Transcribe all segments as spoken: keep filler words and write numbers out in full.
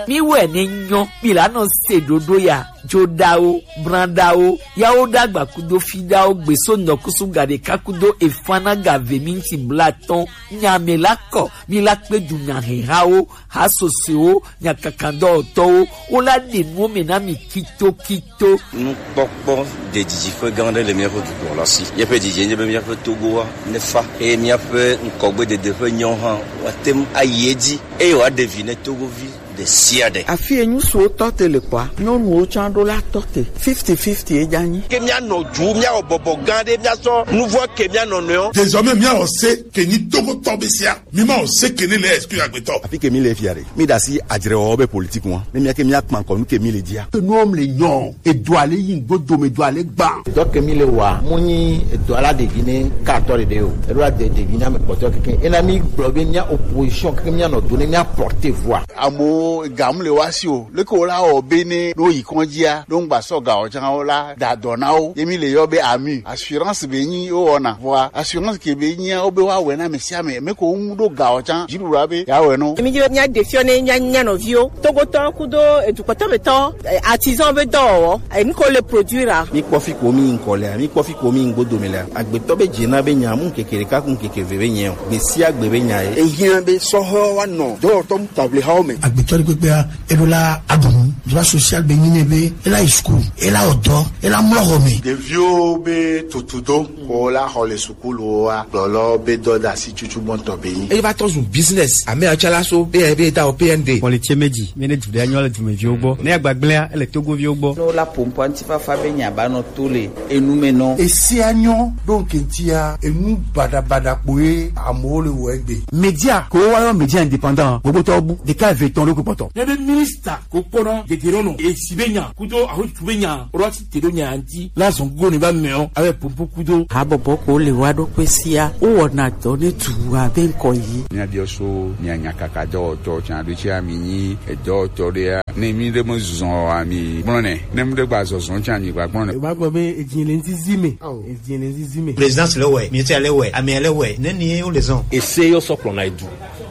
Mi wɛ ne nyɔ, mi la nɔ se ɖoɖo ya, joɖawo, branɖawo, yawo ɖagba kudo fiɖawo, gbeso nɔkusu gaɖeka kudo efanaga ve minti blatɔn, nyame la kɔ, mi la kpe du nyahehawo, hasosewo, nyakakadɔwɔtɔwo, wo la ɖe nuwo me na mi kitokito. Nukpɔkpɔ ɖe didiƒe gã aɖe le míaƒe dukɔ la si. Míaƒe didi nye be míaƒe Togoa nefa eye míaƒe ŋkɔgbedede ƒe nyawo hã woate ŋu ayi edzi eye wòaɖe vi ne Togovi ɖe sia ɖe. Afi yi ŋutsuwo tɔ te le kpɔa, nyɔnuwo tsã ɖo la tɔ te. Fifty fifty ye dza nyi. Ke míanɔ du, míawɔ bɔbɔ gã aɖe, míasɔ nuvɔ ke mía nɔnɔewo. Désormais, míawɔ se ke nyi Togotɔ be sia. Mi ma o se ke ne le exclu agbetɔ. Afi ke mi le fia ɖe. Mi ɖe asi adzrewɔwɔ be politique ŋua. Ne mía ke mía kpa ŋkɔ nu ke mi le dzia. Ke nuwo le nyɔ. Edoa le yi ŋgbo dome, edoa le gban. Dɔ ke mi le wa, mu nyi edoa la ɖevi ne ka tɔ ɖeɖe o. Eɖo la de ɖevi na me kpɔtɔ keke. Ena mi gblɔ be mía opposition keke mía nɔ do ne mía porter voix. Amewo ga mu le wa si o. Leke wo la wɔ be ne ɖo yi kɔndzia, ɖo ŋgba sɔ ga o tsã wo la da dɔ na wo. Ye mi le yɔ be ami. Assurance be nyi wo wɔna. Vɔa assurance ke be nyia wo be wa wɛ na ame sia ame. Me ko ŋu ɖo ga o tsã. Dziɖuɖua be ya wɛ no. Mi dzi be mía ɖe fiɔ ne mía, mía nɔviwo. Togotɔ kudo edukɔtɔ me tɔ, eh, artisan be dɔwɔwɔ. Eh, nu ko le produire. Mi kpɔ fi ko mi ŋkɔ lea, mi kpɔ fi ko mi ŋgbo dome lea. Agbetɔ be dze na be nya mu ŋkeke ɖeka ku ŋkeke ve be nyɛ o. Gbe sia gbe be nya ye. Ehiã be sɔhɔ wa nɔ dɔwɔtɔ mu table hawo me. Agbetɔ ɖe kpekpea, eɖo la aɖu nu. Droit social be nyi ne be, ela yi school, ela wɔ dɔ, ela mlɔ xɔ me. Ɖeviwo be tutudo, ko la xɔ le sukulu wa, gblɔlɔ be dɔ da si tutu gbɔntɔ be nyi. Eye va tɔ zu business, ame atsalaso, be, be da o P N D. Xɔ le tse me dzi, mi ne du ɖe anyɔ le dumeviwo gbɔ. Ne agbagblẽa, ele Togoviwo gbɔ. Ne wola ƒo ŋkɔ ŋutifafa be nya ba nɔ to le enu me nɔ. Esia nyɔ ɖo ŋke ŋutia, enu baɖabaɖa kpoe amewo le wɔ egbe. Média, ko woyɔ média indépendant, gbogbo tɔ bu, ɖeka eve etɔ̃ ɖo kpɔtɔ. Ne be minista ko kpɔna dede ɖo nɔ, esi be nya, kudo ahotu be nya, ro ati te ɖo nya ŋuti, la zɔn go ne va mɛ o, abe pompo kudo. Habɔbɔ ko le wa ɖo kpe sia, wo wɔna dɔ ne tu abe ŋkɔ yi. Mía biɔ so, mía nya kaka dɔwɔtɔ, tsan ɖo tsi ami nyi, edɔwɔtɔ ɖe ya. Ne mi ɖe me zɔn ami gblɔ nɛ. Ne mi ɖe gba zɔzɔ tsi ami gba gblɔ nɛ. E ma gbɔ be edzi le nzizi me. Edzi le nzizi me. Présidence le wɛ, ministère le wɛ, amea le wɛ, ne ni wo le zɔn. Ese yo sɔ kplɔ na edu.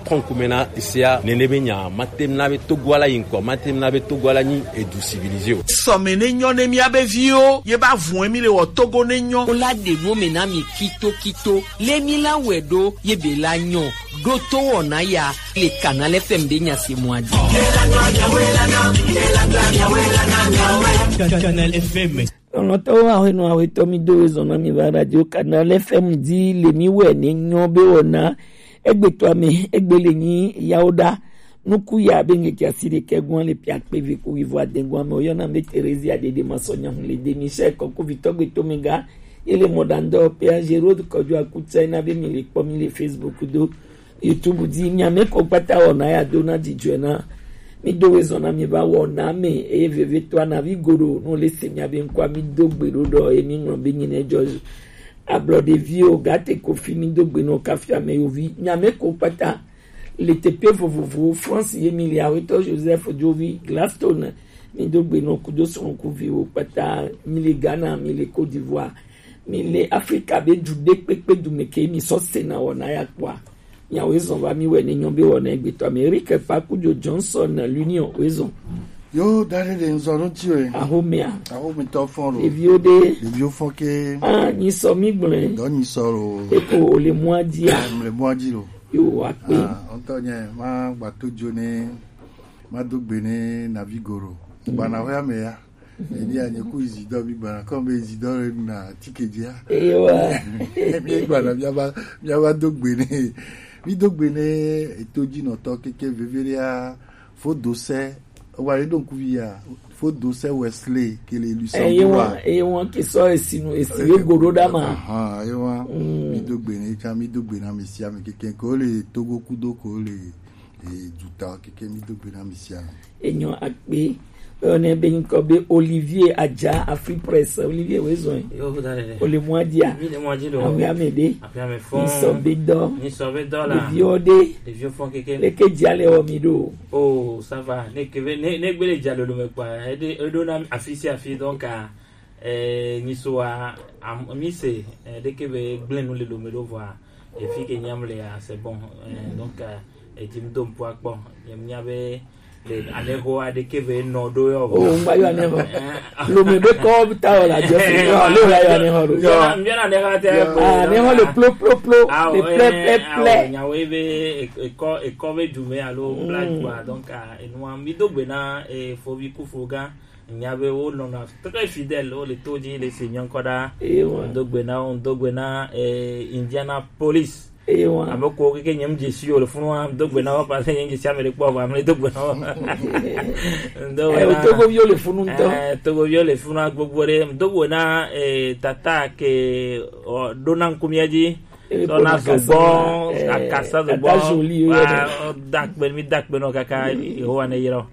Kɔnkume na esea, nene be nya, mate na be Togo ala yi ŋkɔ, mate na be Togo ala nyi edu civilisé o. Sɔme ne nyɔ ne mía be viwo, ye ba vun mi le wɔ Togo ne nyɔ. Wo la ɖe nuwo me na mi kitokito. Le mi la wɛ ɖo ye be la nyɔ. Ɖo to wɔna ya le Canal F M be nya se mɔ adi. Canal F M. Lɔlɔ̃tɔwo, ahɔenɔ ahɔetɔ, mi do ezɔ na mi va Radio Canal F M di le mi wɛ ne nyɔ be wɔna egbetɔ ame egbe le nyi yawo ɖa. Nuku ya be ŋkeke asi ɖekɛ gɔ̃a le piakpe vi ku wivo adegɔ̃a me woyɔna be Theresia Dede Masɔnya hu le de Michel Kɔkuvitɔ gbetome ga. Ye le mɔɖaŋudɔwɔƒea Géraud Kɔdzo Akutsa na be mi le kpɔ mi le Facebook do YouTube di. Mia me ko kpata wɔna ya do na dzidzɔe na. Mi do we zɔna mi va wɔna me eye vevetɔa na vi goɖo no le se mia be ŋkɔa mi do gbe ɖo ɖɔ ye mi ŋlɔ be nyi ne dzɔ. Ablɔ ɖeviwo gate kofi mi do gbe no kafi ame yovi. Mia me ko kpata le teƒe vovovowo, France ye mi le, Awetɔ Joseph Djovi Gladstone, mi do gbe nɔ kudo srɔ̃kuviwo kpata, mi le Ghana, mi le Côte d'Ivoire, mi le Afrika be du ɖe kpekpe du me ke mi sɔ sena wɔna ya kpɔa. Miawo ezɔn va mi wɛ ne nyɔ be wɔna egbetɔ Amerike pa kudo Johnson L'Union wo ezɔn. Yo, da ɖe le ŋzɔ ɖo ti o. Axomea. Axometɔ fɔn lo. Ɖeviwo ɖe. Ɖeviwo fɔn ke. Ah, nyi sɔ mi gblẽ. Dɔ nyi sɔ lo. Eko o le mɔa dzi a. Le mɔa dzi lo. Yo, wa kpe. Ah, ŋutɔ nye ma gbato dzo ne ma do gbe ne Navi Goro. Gbana ƒe ame ya. Eni anye ku izi dɔ mi gbana kɔ be izi dɔ le na tike dzia. Ewa. Mi gbana mi ava mi ava do gbe ne. Mi do gbe ne eto dzi nɔtɔ keke vevere a. Fo do se wa ye do ŋkuvi ya. Fo do se Wesley ke le Luxembourg. Eye wa, eye wa ke sɔ esi nu, esi ye go ɖo ɖa ma. Aha, eye wa. Mm. Mi do gbe ne ka mi do gbe na mi sia mi keke ko le Togo kudo ko le e duta keke mi do gbe na mi sia mi. Enyɔ akpe. Oyɔnɛ be ŋkɔ be Olivier Adja, Afri Presse. Olivier, wo ezɔn. Yo, da ɖe ɖe. Ole mɔa dzia. Mi le mɔa dzi lo. Awe ame ɖe. Afi ame fɔn. Ŋsɔ be dɔ. Ŋsɔ be dɔ la. Ɖeviwo ɖe. Ɖeviwo fɔn keke. Leke dzia le wɔ mi ɖo. Oh, ça va. Ne kebe, ne, ne gbele dza lolo me kpa. Eɖe, eɖo na afi sia afi, donc, ah, eh, nyisoa, am, mi se, eh, ɖeke be gblẽ nu le lome ɖo vɔa. Efi ke nyam le ya, c'est bon. Eh, donc, eh, edzi m do ŋkua kpɔ. Nyem nya be, Aneho aɖeke be nɔ ɖo yɔ. O ŋgba yɔ aneho. Lome be kɔ ta wɔ la jɛ fu yɔ le la yɔ aneho ɖo. Yɔ. Mbiɔna aneho te. Ah, aneho le plo plo plo, le plɛ plɛ plɛ. Nyawo be ekɔ ekɔ be dume alo black boy, donc enua mi do gbe na fovi kufu gã. Nya be wo nɔna très fidèle, wo le to dzi le se nyɔ ŋkɔ ɖa. Eye wa. Ŋdo gbe na wo, ŋdo gbe na eh, Indianapolis. Eye wa. Ame ko keke nyem dze si o le funu wa, ŋdo gbe na wo parce que nyem dze si ame ɖe kpɔ va, ame do gbe na wo. Ŋdo gbe Eh, na Togoviwo le funu ŋutɔ. Eh, Togoviwo le funu gbogbo ɖe. Ŋdo gbe na eh, tata ke o ɖo na ŋkumia dzi. Eye tɔ na ko na zogbɔ, akasa, eh, akasa zogbɔ. Tata Jolie, wa, eye. O da kpe, mi da kpe nɔ kaka Yehowa ne yra.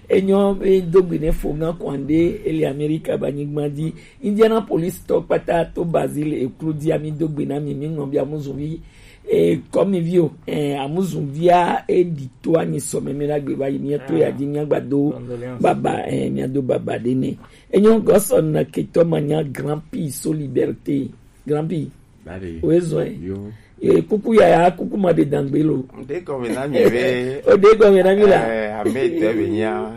Enyo be do gbe ne fo gã kɔnde ele Amerika ba nyigba dzi. Indianapolis tɔ kpata to Brazil eklu dzi ami do gbe na mi, mi ŋlɔ bi amuzuvi. E kɔmi vi o, e amuzuvia e di to anyi sɔ me mi la gbe ba yi mi to ya dzi mi agba do baba, e mi ado baba de ne. Enyo gɔsɔ na ketɔ ma nya grand prix so liberté. Grand prix. Bade. Oye zɔn ye. Yo. Ye kuku yaya, kuku ma de dangbe lo. Ŋde gɔme na mi be. O de gɔme na mi la. Eh, ame tɛ be nya.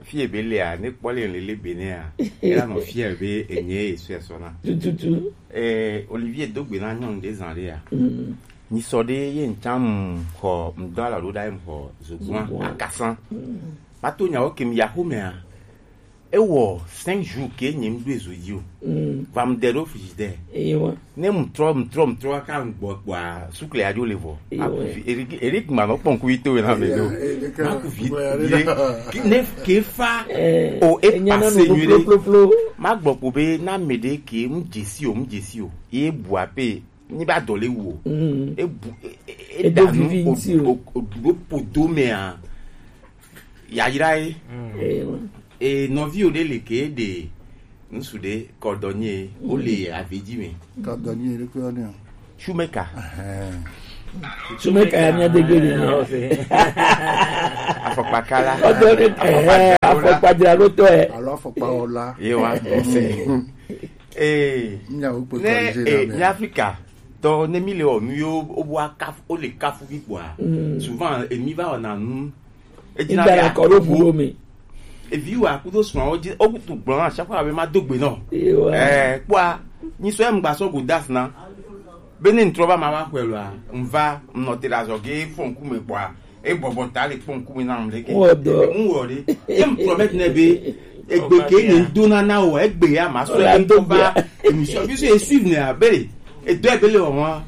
Fie be lea, ne kpɔ le lele be ne a. Ela nɔ fie be enye esu esɔ na. Tututu. Eh, Olivier do gbe na nyɔnu de zan de ya. Mm. Ni sɔ de ye ŋtsam xɔ ŋdɔ ala ɖo ɖa ye xɔ zogbɔn. Zogbɔn. Akasan. Mm. Ma to nyawo ke mi ya xo mea. Ewɔ cinq jours ke nye ŋɖo ezo dzi o. Mm. Va mu de ɖo frigidaire. Ewa. Ne mu trɔ, mu trɔ, mu trɔ kaka ŋgbɔ kpɔa, sukle adzo le vɔ. Ewa. Aku vi, Eric, Eric ma nɔ kpɔn kuvi to na me do. Eya, eya, eya. Ma ku vi, eya, vi, eya. Ki-, ne ke fa. Eh, o e enya na passe nu nyuie. Plo, plo, plo. Ma gbɔ ko be na me de ke mu dze si o, mu dze si o. Ye bu ape, ni ba dɔ le wu o. Mm. E bu, e, e, e, e da nu vivi o, ŋuti o. O, o, o, o, podo me a. Yayra ye. Mm. Eh, wa. E nɔvi o ɖe le ke ɖe ŋsu ɖe cordonnier, wo le avi dzi me. Cordonnier ɖe kpe ne. Shoemaker. Ɛhɛn. Shoemaker ya mia de gbe ni. Afɔkpakala. Ɔdɔ ne, eh, afɔkpadzralotɔ ye. Alo afɔkpawɔla. Ye wa. Ee. Mía wo kpe ne, corriger ee, la me. Ní Afrika tɔ ne mi le wɔ nu yo, o bo akafu, o le kafu fi kpɔa. Mm. Souvent, emi va wɔna nu. Edina be akɔ ɖo ʋu ɖo me. Evi wa kudo srɔ̃ wo dzi, o kutu gblɔ na chaque fois be ma do gbe nɔ. Ewa. Eh, kpɔa, nyi sɔ em gba sɔ go das na. Be ne ŋtrɔ va ma va xɔe lɔa, ŋva, ŋnɔ te ɖe azɔ ge fɔ ŋkume kpɔa, e bɔbɔ ta le kpɔ ŋkume na ŋleke. Wɔ dɔ. Ŋwɔ ɖe. Ye m promet nɛ be, egbe ke ne ŋdona na o, egbe ya ma sɔ. Wala e do ŋkɔ va bia. Emission, bi so e suivre nɛ a, be le, e do e be le wɔ wa.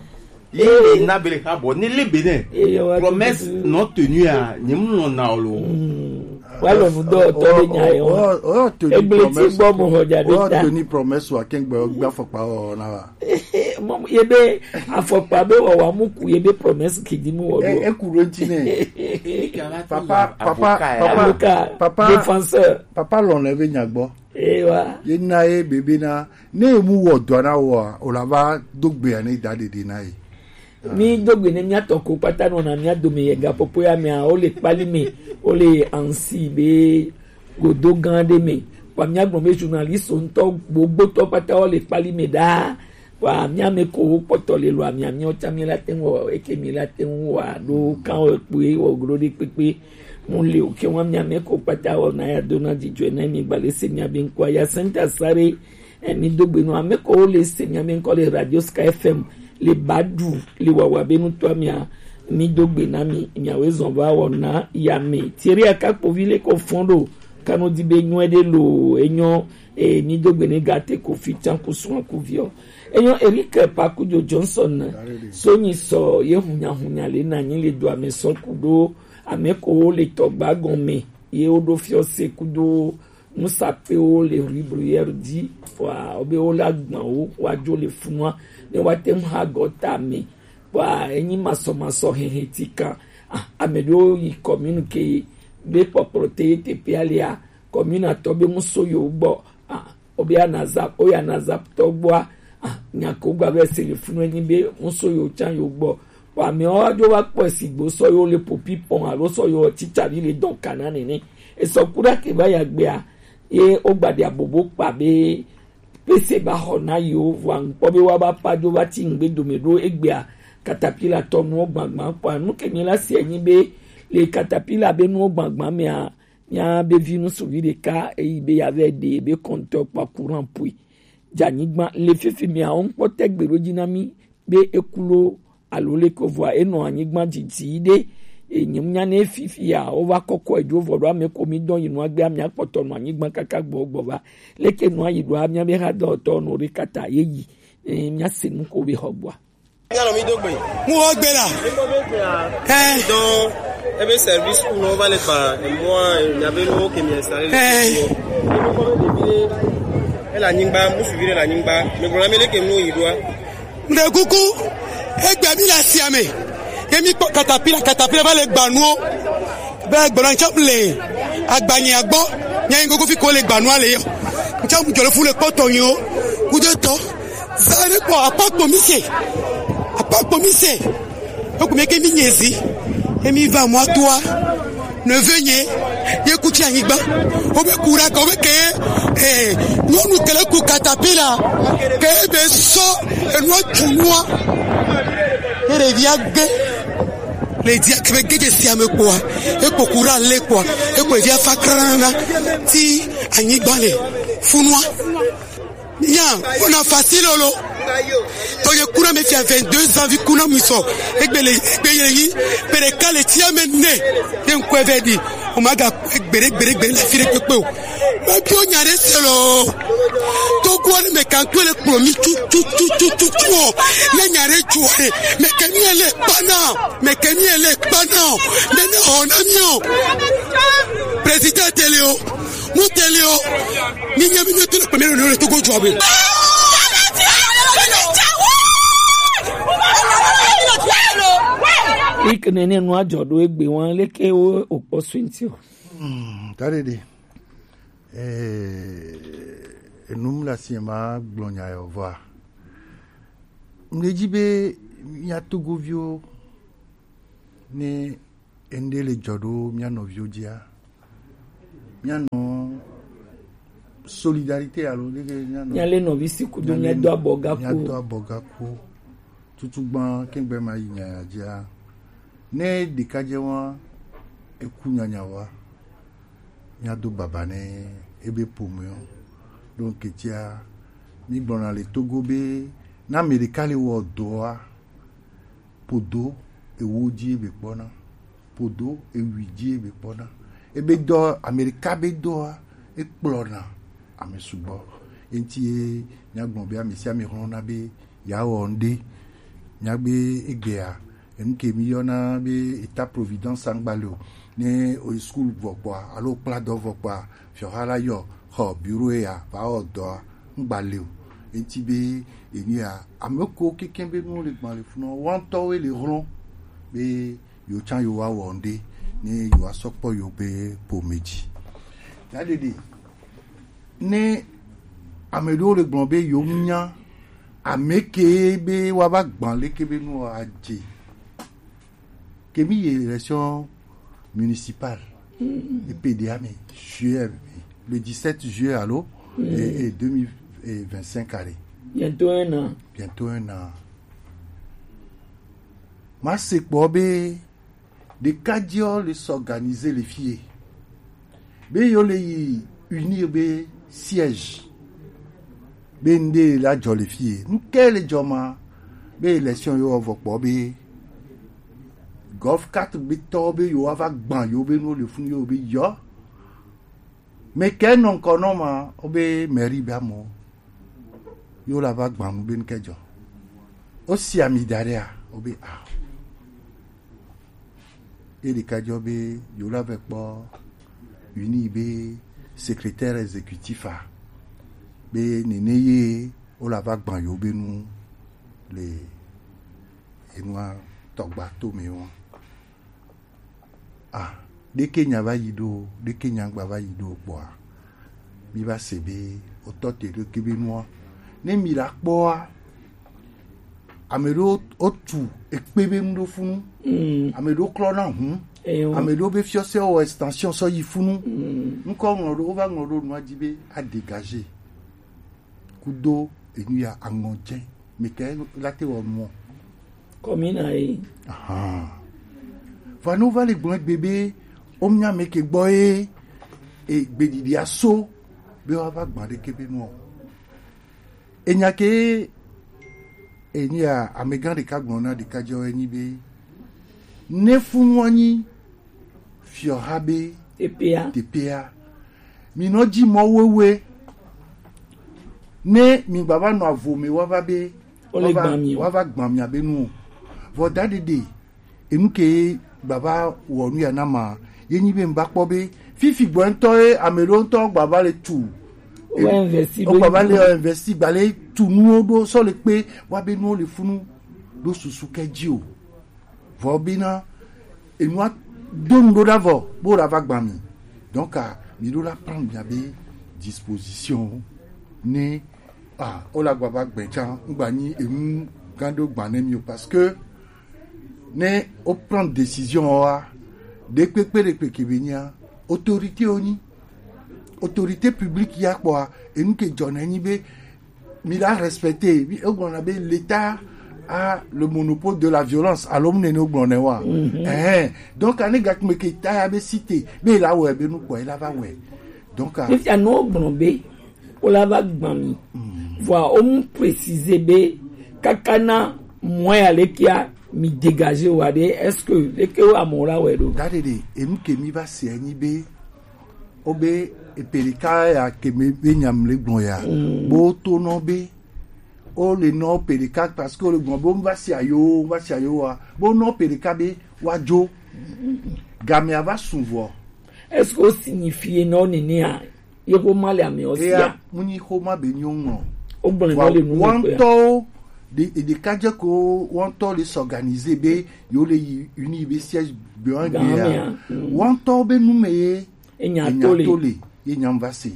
Ye le na be le xa bɔ, ne le be nɛ. Ye wa promesse tutu. Non tenue a, nye m lɔn na o lo. Mm. Wa lɔ nu dɔ tɔ be nya ye wa. O, o, o, o, tenu promesse. Egbe ti gbɔ mo hɔ ja de ta. O, tenu promesse wa kɛn gbɛ o gba fɔkpa o na wa. Mɔ, ye be afɔkpa be wɔ wa mu ku ye be promesse ke di mu wɔ do. E, e ku ɖo ŋti nɛ. Papa, papa, avocat, papa, avocat, papa, défenseur. Papa lɔn le be nya gbɔ. Ewa. Ye na ye bebe na, ne ye mu wɔ dɔ na wɔ, o la va do gbe ya ne da dede na ye. Mi do gbe ne mia tɔ ko kpata nɔ na mia dome ye ga popo ya mea, o le kpali me, o le ansi be godo gã ɖe me. Kpa mia gblɔ be journaliste ŋutɔ gbogbotɔ kpata o le kpali me ɖaa. Wa mia me ko wo kpɔtɔ le lo amia miɔ tsa mi la te ŋu wɔ eke mi la te ŋu wa ɖo kan wɔ kpoe wɔ glo ɖe kpekpe. Mu le o ke wa mia me ko kpata wɔ na ya do na dzidzɔe na mi gba le se mia be ŋkua ya senta sare. E mi do gbe no ame ko le se mia be ŋkɔ le Radio Sky F M le ba du le wawa be ŋutɔ mia mi do gbe na mi mia we zɔn va wɔ na ya me. Thierry Akakpovi le ko fɔn ɖo kanu di be nyɔe ɖe lo enyɔ. E mi do gbe ne gate ko fi tsan ku sɔn ku viɔ. Enyo Eric Pakujo Johnson, Sonyi sɔ ye hunya hunya le na nyi le do ame sɔ kudo ame ko wo le tɔgba gɔme ye wo ɖo fiɔ se kudo nusapewo le rue Bruyère di wa wo be wo la gbɔn wo wa dzo le funua ne wa te ŋu ha gɔta me wa enyi masɔmasɔ hehe ti kan. Ah, ame ɖewo yi commune ke be kpɔkplɔ te ye teƒea lea commune atɔ be ŋu so yewo gbɔ. Ah, Obe anazap, oya nazap tɔ gbɔa. Ah, nya ko gba be se le funu enyi be ŋuso yo tsan yo gbɔ. Wa amewo adzo va kpɔe sigbe sɔ yo le popi pɔn alo sɔ yo tsitsa vi le dɔn kana nene. Esɔ ku ɖa ke va ya gbea, ye o gba ɖe abobo kpa be pese ba xɔ na yo vɔa ŋkpɔ be wa ba pa dzo va tsi ŋgbe dome ɖo egbea katapila tɔ nuwo gbagba kpɔa. Nu ke mi la se enyi be Le katapila be nuwo gbagba mea, mia be vi nusuvi ɖeka eyi be ya vɛ ɖe be kɔntɔ kpa kuran pui. Dza nyigba le fifi mea, wo ŋkpɔ tɛ gbe ɖo dzi na mi be eku lo alo leke vɔa enɔ anyigba didi ɖe. Enye nya ne fifi ya wo va kɔkɔ edzo vɔ ɖo ame ko mi dɔn yi nua gbea mia kpɔtɔ nɔ anyigba kaka gbɔ gbɔ va. Leke nua yi ɖoa mia be ha dɔtɔ nɔ ɖe kata ye yi. Eh, mia se nu ko be xɔ gbɔa. Míanɔ mí do gbe. Mu wo gbe la. Ɛ. Donc, ebe service ku nɔ va le gba emɔa, miabe nuwo ke mi installer le. Ɛ. Ele anyigba, musuvi ɖe le anyigba. Mi gblɔ na mi leke nuwo yi ɖoa. Ŋɖe kuku, egbe mi le asia me. Ye mi kpɔ katapila, katapila va le gba nuwo. Be gblɔ ŋtsɔ le agbanyea gbɔ. Nya yi gogo fi ko le gba nua le yɔ. Ŋtsɔ mu jɔ le fu le kpɔtɔ yi o. Kudo tɔ. Zane kpɔ apa kpɔ mi se. Apa kpɔ mi se. Eku mi ke mi nye zi. Emi va mɔ toa. Neveu nye. Ye ku tsi anyigba. Wo be ku ɖa ka, wo be ke, eh, nyɔnu kele ku katapila. Ke be sɔ enua tsu nua. Ye ɖevia gbe. Le dia ke be gede sia me kpɔa. Ekpɔ ku ɖa le kpɔa. Ekpɔ ɖevia fa krana. Ti anyigba le. Funua. Nya, ona facile lo. To ye kuna me fia vingt-deux ans vi kuna mi so. Egbe le, egbe ye yi. Pere kale tia me ne. Ye nkwe ve di. O ma ga gbere, gbere, gbere la fire pepe o. Ma bi o nya re se lo. To ko ni me kan to le kplo mi tu, tu, tu, tu, tu, tu o. Ne nya re tu o re. Me ke mi ele pana. Me ke mi ele pana o. Me ne o na mi o. Président télé o. Mu télé o. Mi nya mi nya to le kplo mi le Togo jɔ be. Ik nene nua jɔ ɖo egbe wan leke wo okpɔ swinti o. Hmm, tare de. Eh, enum la si ma gblɔ nya yɔ vɔa. Mle dzi be mia Togoviwo ne ende le dzɔ ɖo mia nɔviwo dzia, mia nɔ solidarité alo leke mia nɔ Mia le nɔvi si kudo mia le mia do abɔ gaku. Mia do abɔ gaku. Tutu gbã kengbe ma yi nya ya dzia. Ne ɖeka dze wa eku nyanya wa. Míado baba ne ebe ƒomea. Donc, ketia, mígblɔna le Togo be, ne ame ɖeka le wɔ dɔa, ƒodo ewo dzi ebe kpɔna, ƒodo ewui dzi ebe kpɔna. Ebe dɔ, ame ɖeka be dɔa, ekplɔna ame sugbɔ. Eŋuti ye míagblɔ be ame sia ame xlɔ̃na be yeawɔ ŋɖe. Míagbe egbea, enu ke miyɔna be État Providence ŋgba le o. Ne oyi school vɔ kpɔa, alo kpla dɔ vɔ kpɔa, fiɔha la yɔ xɔ bureau ya va wɔ dɔa, ŋgba le o. Enti be enu ya, ame ko keke be nu le gbalẽ funɔ, woantɔwoe le hlɔ̃ be yewo tsã yewoawɔ ŋɖe ne yewoasɔ kpɔ yewo be ƒome dzi. Ya ɖeɖe, ne ame ɖewo le gblɔ be yewo nya ame ke be woava gbã leke be nu adze. Ke mi yi élection municipale, mm, e P D A me, juillet, le dix-sept juillet, alo, mm, et, et deux mille vingt-cinq allez. Bientôt un an. Bientôt un an. Ma se kpɔ be ɖekadzewo le s'organiser le fie. Be yewo le yi unir be siège. Be ŋɖe la dzɔ le fie. Nu ke le dzɔ ma, be élection yewo vɔ kpɔ be Golf quatre be tɔwo be yewo va gbã yewo be nu le funu yewo be yɔ. Me ke nɔ ŋkɔ nɔ ma, wo be mairie be amewo. Yewo la va gbã nu be nu ke dzɔ. Wo si ami da ɖe a, wo be a. Ye ɖeka dzɔ be yewo la vɛ kpɔ uni be secrétaire exécutif a, be nene ye wo la va gbã yewo be nu le enua tɔgba to me wa. Ah, ɖeke nya va yi ɖo, ɖeke nya gba va yi ɖo kpɔa, mi va se be wotɔ te ɖeke be nua. Ne mi la kpɔa, ame ɖewo wotu ekpe be nu ɖo funu. Mm. Ame ɖewo klɔna hu. Eyo. Ame ɖewo be fiɔse wɔ extension sɔ yi funu. Mm. Ŋkɔ ŋlɔ ɖo, wova ŋlɔ ɖo nua dzi be a dégager. Kudo enu ya aŋɔ dze. Mi ke la te wɔ nuɔ. Kɔmina ye. Ahan. Vɔ ne wova le gblɔ egbe be, wo mía mɛ ke gbɔ ye, e, gbeɖiɖi aso be woava gbã ɖeke be nɔ. Enya ke enya amegã ɖeka gblɔ na ɖeka jɔ enyi be, ne funu anyi fiɔha be teƒea, teƒea, mi nɔ dzi mɔ wewe, ne mi gbava nɔ avo me woava be, wole woava gbã mi o. Woava gbã mia be nu o. Vɔ da ɖeɖe, enu ke gbava wɔ nu ya na ma, ye nyi be n va kpɔ be fifi gbɔ ŋutɔ ye ame ɖewo ŋutɔ gbava le tu. Wo investi ɖo. Wo gbava le investi gba le tu nuwo ɖo sɔ le kpe wa be nuwo le funu ɖo susu ke dzi o. Vɔ bena enua do nu ɖo ɖa vɔ bo la va gba mi. Donc, ah, mi ɖo la prendre mia be disposition ne, ah, o la gbava gbɛ tsa ŋgba nyi enu gã ɖo gba ne mi o, parce que ne o prendre décision wa, ɖekpekpe ɖekpekpe be nya autorité o nyi, autorité publique ya kpɔa, enu ke dzɔ ne nyi be mi la respecter, mi o gblɔ na be l'État a le monopole de la violence, alo mu nene o gblɔ ne wa. Mhm. Eh, donc ane gakme ke ta ya be cité be la wɛ be nu kpɔ la va wɛ. Donc, ah, fifia no gblɔ be o la va gbã mi. Mm. Vɔa o mu préciser be kaka na mɔ ya le kia mi dégager wa de, est-ce que le ke wa mɔ la wɛ do? Da ɖeɖe, enu ke mi va se anyi be o be eperika ya ke me be nyam le gblɔ ya. Mm. Bo to nɔ be o le nɔ perika parce que o le gblɔ be o va se ayo, o va se ayo wa. Bo nɔ perika be wa jo. Game a va sun vɔ. Est-ce que o signifie nɔ nene a? Ye xoma le ame o sia. Eya, mu nyi xoma be nyo ŋɔ. O gblɔ nɔ le nu wa kpe. Wɔntɔwo de, de kadze ko wɔntɔ le s'organiser be yo le yi uni be siège be wan be ya. Wɔntɔwo be nu me ye enya to le, ye nyam va se.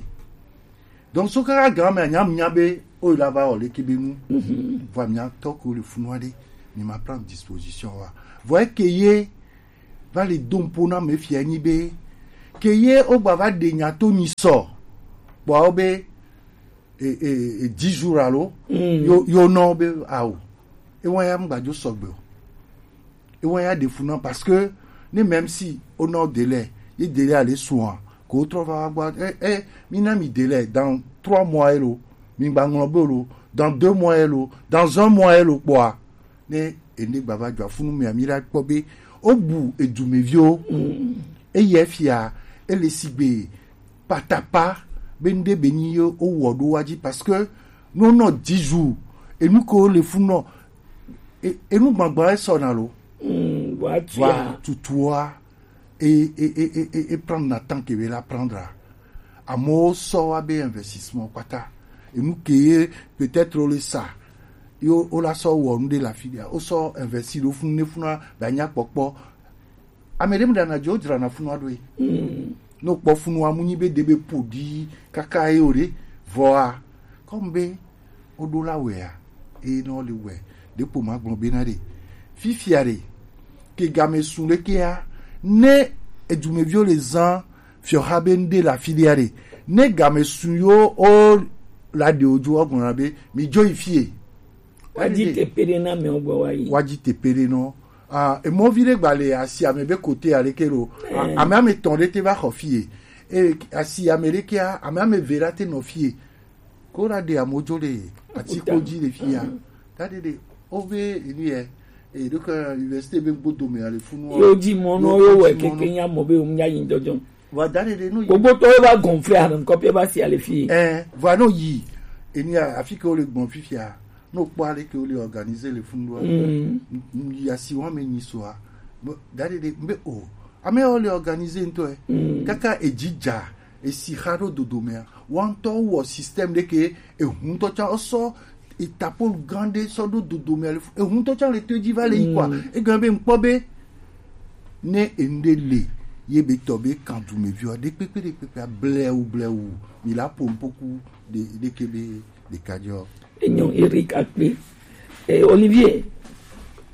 Donc so kaka gan me nya nya be o la va o le ke be nu. Mhm. Vɔ mia tɔ ko le funu aɖe, mi ma prendre disposition wa. Vɔ ke ye va le do ŋpo na me fia nyi be ke ye o gba va ɖe nya to nyi sɔ kpɔ o be e, e, e, dix jours alo, mm, yo, yo nɔ be awo. E wa ya ŋgba dzo sɔgbe o. E wa ya ɖe fu nɔ parce que ne même si o nɔ délai, ye délai ale soin, ko trɔ va gbɔ, eh, eh, mi na mi délai dans trois mois elo, mi gba ŋlɔ be lo, dans deux mois elo, dans un mois elo kpɔa. Ne ene gbava dzɔ afunu mea, mi la kpɔ be o bu edumeviwo. Mm. Eye fia, ele sigbe patapa be ŋɖe be nyi ye o wɔ ɖo wa dzi parce que no nɔ dix jours, enu ko le fu nɔ, e, enu gbagba e sɔ na lo. Mm, wa tia. Wa tutua. E, e, e, e, e, e prendre na temps ke be la prendre. Amewo sɔ wa be investissement kpata. Enu ke ye peut-être o le sa. Yo, o la sɔ wɔ nu ɖe le afi ɖea. O sɔ investi ɖo funu ne funua be anya kpɔkpɔ. Ame ɖe mu ɖana dzo dzrana funua ɖo ye. Mm. No kpɔ funua mu nyi be ɖe be ƒoɖi kaka ye o ɖe. Vɔa, comme be o ɖo la wɛa, eye ne o le wɛ, ɖe kpo ma gblɔ be na ɖe. Fifia ɖe, ke game sun ɖe kea, ne edumeviwo le zan fiɔha be ŋɖe le afi ɖea ɖe, ne game sun yo o la ɖe o dzo, o gblɔ na be, mi dzo yi fie. Wa dzi teƒe ɖe na amewo gbɔ wa yi. Wa dzi teƒe ɖe nɔ. Ah, emɔvi ɖe gba le asi ame be kote aleke lo. Ah, eh, ame ame tɔn ɖe te va xɔ fie. E, asi ame ɖe kea, ame ame ve la te nɔ fie. Ko la ɖe amewo dzo le atikpo dzi le fia. Ta ɖe ɖe, o be enu yɛ, e, ɖo ke université be gbodo me ale funu. Yo dzi mɔ nɔ, yo wɛ keke nya mɔ be o nya yi dɔdɔ. Va da ɖe ɖe no yi. Gbogbo tɔ va gonfler ame nkɔ pe va si ale fie. Eh, va no yi. Enu ya, afi ke o le gbɔn fifia. No kpɔ ale ke o le organiser le funu wa. Mm. N-, n-, yi asi wa me nyi soa. Bo, da ɖe ɖe, mbe o. Ame o le organiser ŋutɔ, eh. Mm. Kaka edzi dza. Esi xa ɖo dodomea, woawo ŋutɔ wowɔ système ɖe ke ehu ŋutɔ tsã wosɔ etapolu gã ɖe sɔ ɖo dodomea le fu-, ehu ŋutɔ tsã le to edzi va le yi kɔa, mm, egɔme be ŋkpɔ be ne enu ɖe le ye be tɔ be kan dumeviwa ɖekpekpe ɖekpekpea blewu blewu mi la ƒo nuƒoku ɖe, ɖeke be ɖeka dzɔ. Enyo Eric Akpe. Eh, Olivier,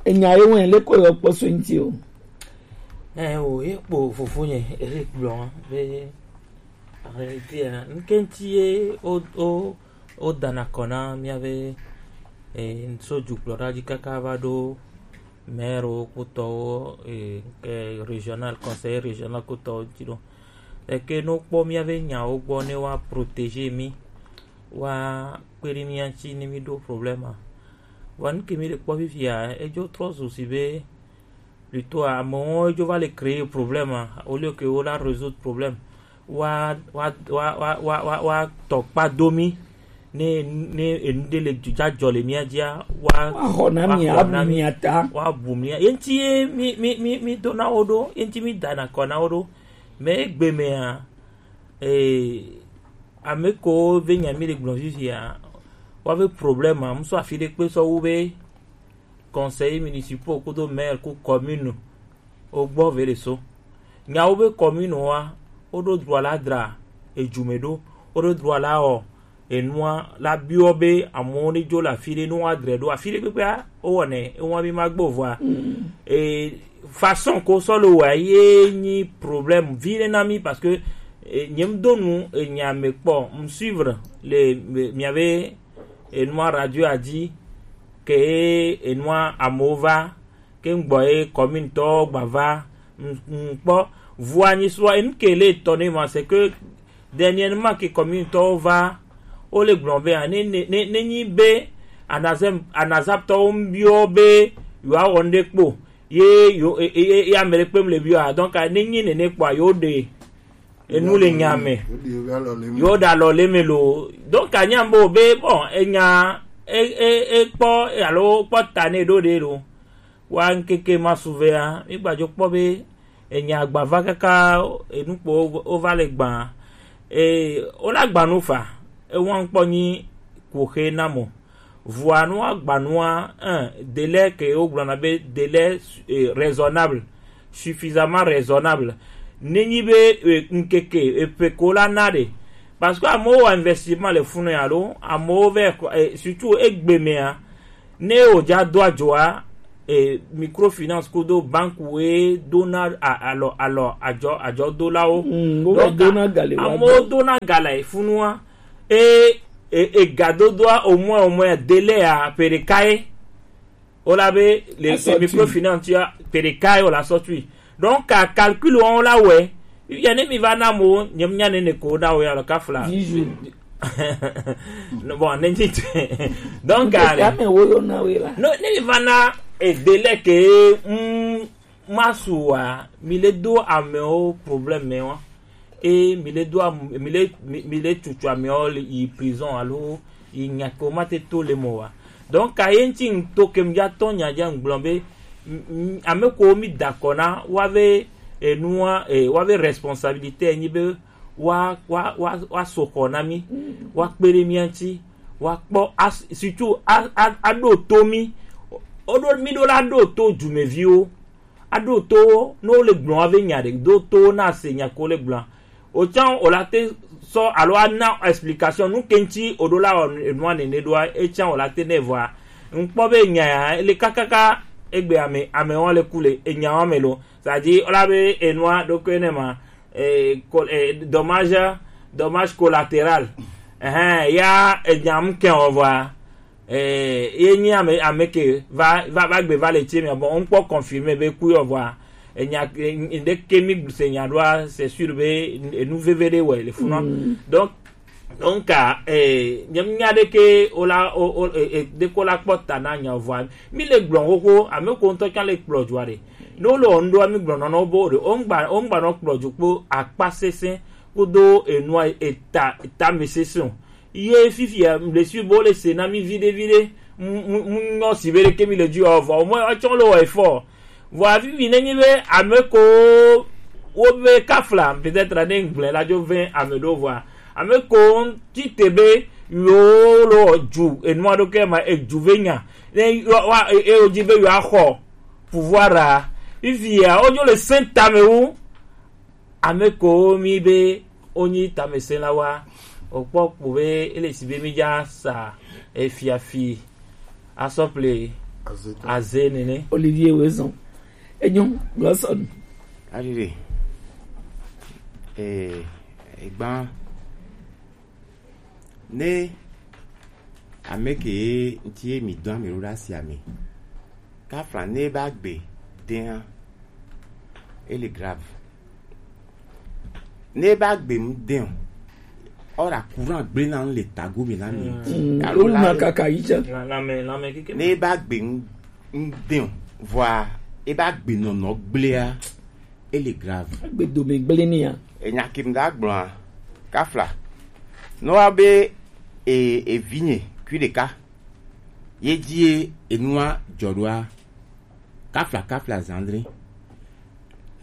enya ye wɛn le ko yɔ kpɔ so ŋuti o. Eh, o, ye kpo fofonye Eric gblɔ be En réalité, hein, ŋke ŋuti ye wo, wo, wodana kɔ na míabe, eh, so dukplɔla dzi kaka va ɖo Maire kutɔwo, eh, ke régional, conseil régional kutɔwo ti ɖo. Eke no kpɔ mía be nyawo gbɔ ne wa protéger mi, wa kpe ɖe mía ŋuti ne mi ɖo problème a. Vɔa nu ke mi le kpɔ fifia, edzo trɔ zu si be plutôt amewo edzo va le créer problème a, au lieu que wo la résoudre problème. Wa wa wa wa wa wa wa tɔ kpa do mi ne ne enu ɖe le dzadzɔ le mía dzia, wa wa xɔ na mi, wa xɔ na mi, wa bu mía ye ŋuti ye mi mi mi mi do na wo ɖo, ye ŋuti mi da na kɔ na wo ɖo. Mais egbe mea, eh, ame ko ve nya mi le gblɔ fifia, wa ve problème a, ŋusɔ afi ɖe kpe sɔ wu be conseillers municipaux kudo maire ku commune wo gbɔ ve le so. Nyawo be commune wa, wo ɖo droit la dra ejume ɖo, wo ɖo droit la wɔ enua la biɔ be amewo ne dzo le afi ɖe, ne woadre ɖo afi ɖe kpekpea, wowɔnɛ, ewa mi ma gbɔ vɔa. E, façon ko sɔ le wɔa ye nyi problème vi ɖe na mi, parce que, e, nye m do nu enya me kpɔ, m suivre le, le mia be enua radio a dzi ke enua amewo va ke ŋgbɔ ye commune tɔwo gba va ŋkpɔ. Vua nyi sua enu ke le tɔ ne ma, c'est que dernièrement ke commune tɔwo va, wo le gblɔ be ne ne ne ne nyi be anazem anazap tɔwo ŋbiɔ be yewoawɔ nu ɖe kpo ye yo e- e- e- ye ame ɖe kpem le biɔ a, donc ne nyi nene kpɔa yewo ɖe enu le nya me, yewo ɖe alɔ le me lo. Donc anya bo be bon enya e e e kpɔ alo kpɔ ta ne ɖo ɖe lo. Wa ŋkeke ma suvea mi gbadzo kpɔ be enya gbava kaka enu kpo wo- wova le gbã. E wo la gbã nu fa, ewa ŋkpɔ nyi kuxe na mo. Vua nua gbanua, un, délai ke wogblɔna be délai, eh, raisonnable, suffisamment raisonnable. Nenyi be, eh, ŋkeke eƒe ko la na ɖe. Parce que amewo wɔ investissement le funu ya lo, amewo vɛ, eh, surtout egbe mea, ne wodza do adzoa, eh, microfinance kudo banque woe dona a- alɔ alɔ adzɔ adzɔdolawo. Mm, wo Donc, dona ga le wa amewo gbɔ. Dona ga le funua. E e e gadodoa au moins au moins délai a ƒe ɖeka ye. Wola be le Asɔ tui. Microfinance ya ƒe ɖeka ye wola sɔ tui. Donc ka calcul wɔn la wɛ. Ya ne mi va na mo nyem nya ne ne ko na wo ya lo ka fla. Dix jours. Bon ne nyi te. Donc ka ne. Ame wo yo na we la. No ne mi va na e délai ke mm, masu wa mi le do amewo problème me wa. E mi le do am- mi le mi mi le tutu amewo le yi prison alo yi nya ko ma te to le mo wa. Donc ka ye ŋuti ŋto ke mi dza tɔ nya dza ŋgblɔ be m- m- ame ko mi da kɔ na wa ve enua e wa ve responsabilité nyi be wa wa wa wa so xɔ na mi, wa kpe ɖe mia ŋuti, wa kpɔ as- surtout a a a ɖo to mi. Woɖo mi ɖo la ɖo to dumeviwo. Aɖo to wo ne wole gblɔm ave nya ɖe do to wo na se nya ko le gblɔm. Otsã wòle ate sɔ alo ana explication nu ke ŋuti wòɖo la wɔ enua nene ɖoa, etsã wòle ate nɛ vɔa. Ŋkpɔ be nya ya ele kakaka egbe ame amewo le ku le enya wa me lo. C'est-à-dire wòla be enua ɖokui ne ma, eh, col- eh, dommage, dommage collatéral. Ɛhɛn, ya enya ŋkɛ wɔ vɔa. Eh, ye nyi ame ame ke va va va gbe va le tse mia, bon, ŋkpɔ confirmé be ku yɔ vɔa. Enya ŋɖe ke mi se nya ɖoa, c'est sûr be enu veve ɖe wɔ le funɔ. Donc donc a eh, nye nya ɖe ke o la o o eh, eh, ɖe ko la kpɔ ta na nya vɔa. Mi le gblɔ xoxo ame ko ŋutɔ tsã le kplɔ dzoa ɖe. Ne wole wɔ ŋɖoa mi gblɔ nɔ na wo be o ɖe o ŋgba o ŋgba nɔ kplɔ dzo kpo akpa sesẽ kudo enua eta eta me sesẽ o. Ye fifia le suivre wo le se na mi viɖe viɖe. Mu mu mu nyɔ si be ɖeke mi le dzi o vɔ o mɔ etsɔ le wɔ efɔ. Vɔ afifi ne nyi be ame ko wo be kafla peut-être ne gblẽ la dzo vɛ ame ɖo vɔa ame ko ti te be yo lo dzu enua ɖo ke ma edzu ve nya ne wa e o dzi be yo axɔ pouvoir a. Fifia wo dzo le se tame wu. Ame ko mi be wonyi tamesẽlawoa, wokpɔ kpo be ele si be mi dza sa efiafi asɔ ple aze nene. Olivier Wezon. Enyo, gblɔ sɔ nu. Alili. Eh, egba ne ame ke ŋuti ye mi dɔ ame ɖo ɖe asi ame. Kafla ne ba gbe den a, ele grave. Ne ba gbe mu den o, ora courant gble na le tago mi na mi. Mm. Alo la ma kaka yi ja. La, la me, la me kike. Ne ba gbe mu den o, vɔa e ba gbe nɔnɔ gble a, ele grave. Gbe do me gble ni a. E nya kim da gblɔ a, Kafla. No wa be e, e vinye kui ɖeka. Ye die enua jɔ ɖoa, Kafla, Kafla Zandri.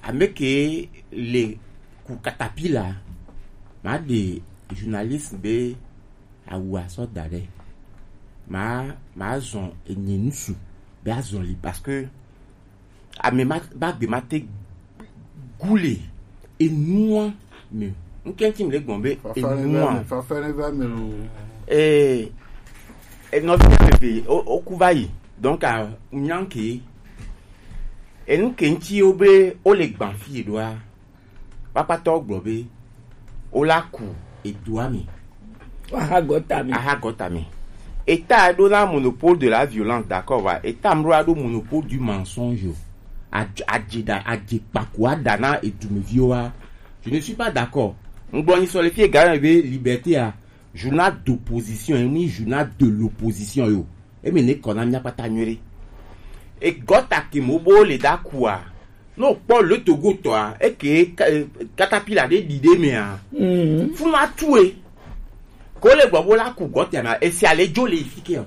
Ame ke le ku katapila, ma de journaliste be awu asɔ da ɖe. Ma, ma zɔn enyi nusu be azɔn li parce que ame ma ba gbe ma te gule enua me. Nkɛntsi mi le gbɔn be enua. Fafa ne va me lo. Eh, e nɔvi ame ve o, o ku va yi. Donc a nyanke. Enu ke ŋuti wo be wo le gban fi ɖoa, kpakpatɔ gblɔ be wo la ku edua me. Aha gɔta me. Aha gɔta me. État ɖo na monopole de la violence, d'accord wa. État mro ɖo monopole du mensonge. Adze, adze da, adze kpako ada na edumeviwo wa. Je ne suis pas d'accord. Ŋgblɔ ni sɔ le fie gare be liberté a, journal d'opposition, ni journal de l'opposition yo. Emi ne kɔ na mia kpata nyuie ɖe. E gɔta ke mo bo le da kua. No kpɔ le Togo tɔa, eke ka-, eh, katapila ɖe ɖi ɖe mea. Mm. Funu atue. Ko le gbɔ bo la ku gɔta na, esi ale jo le fike o.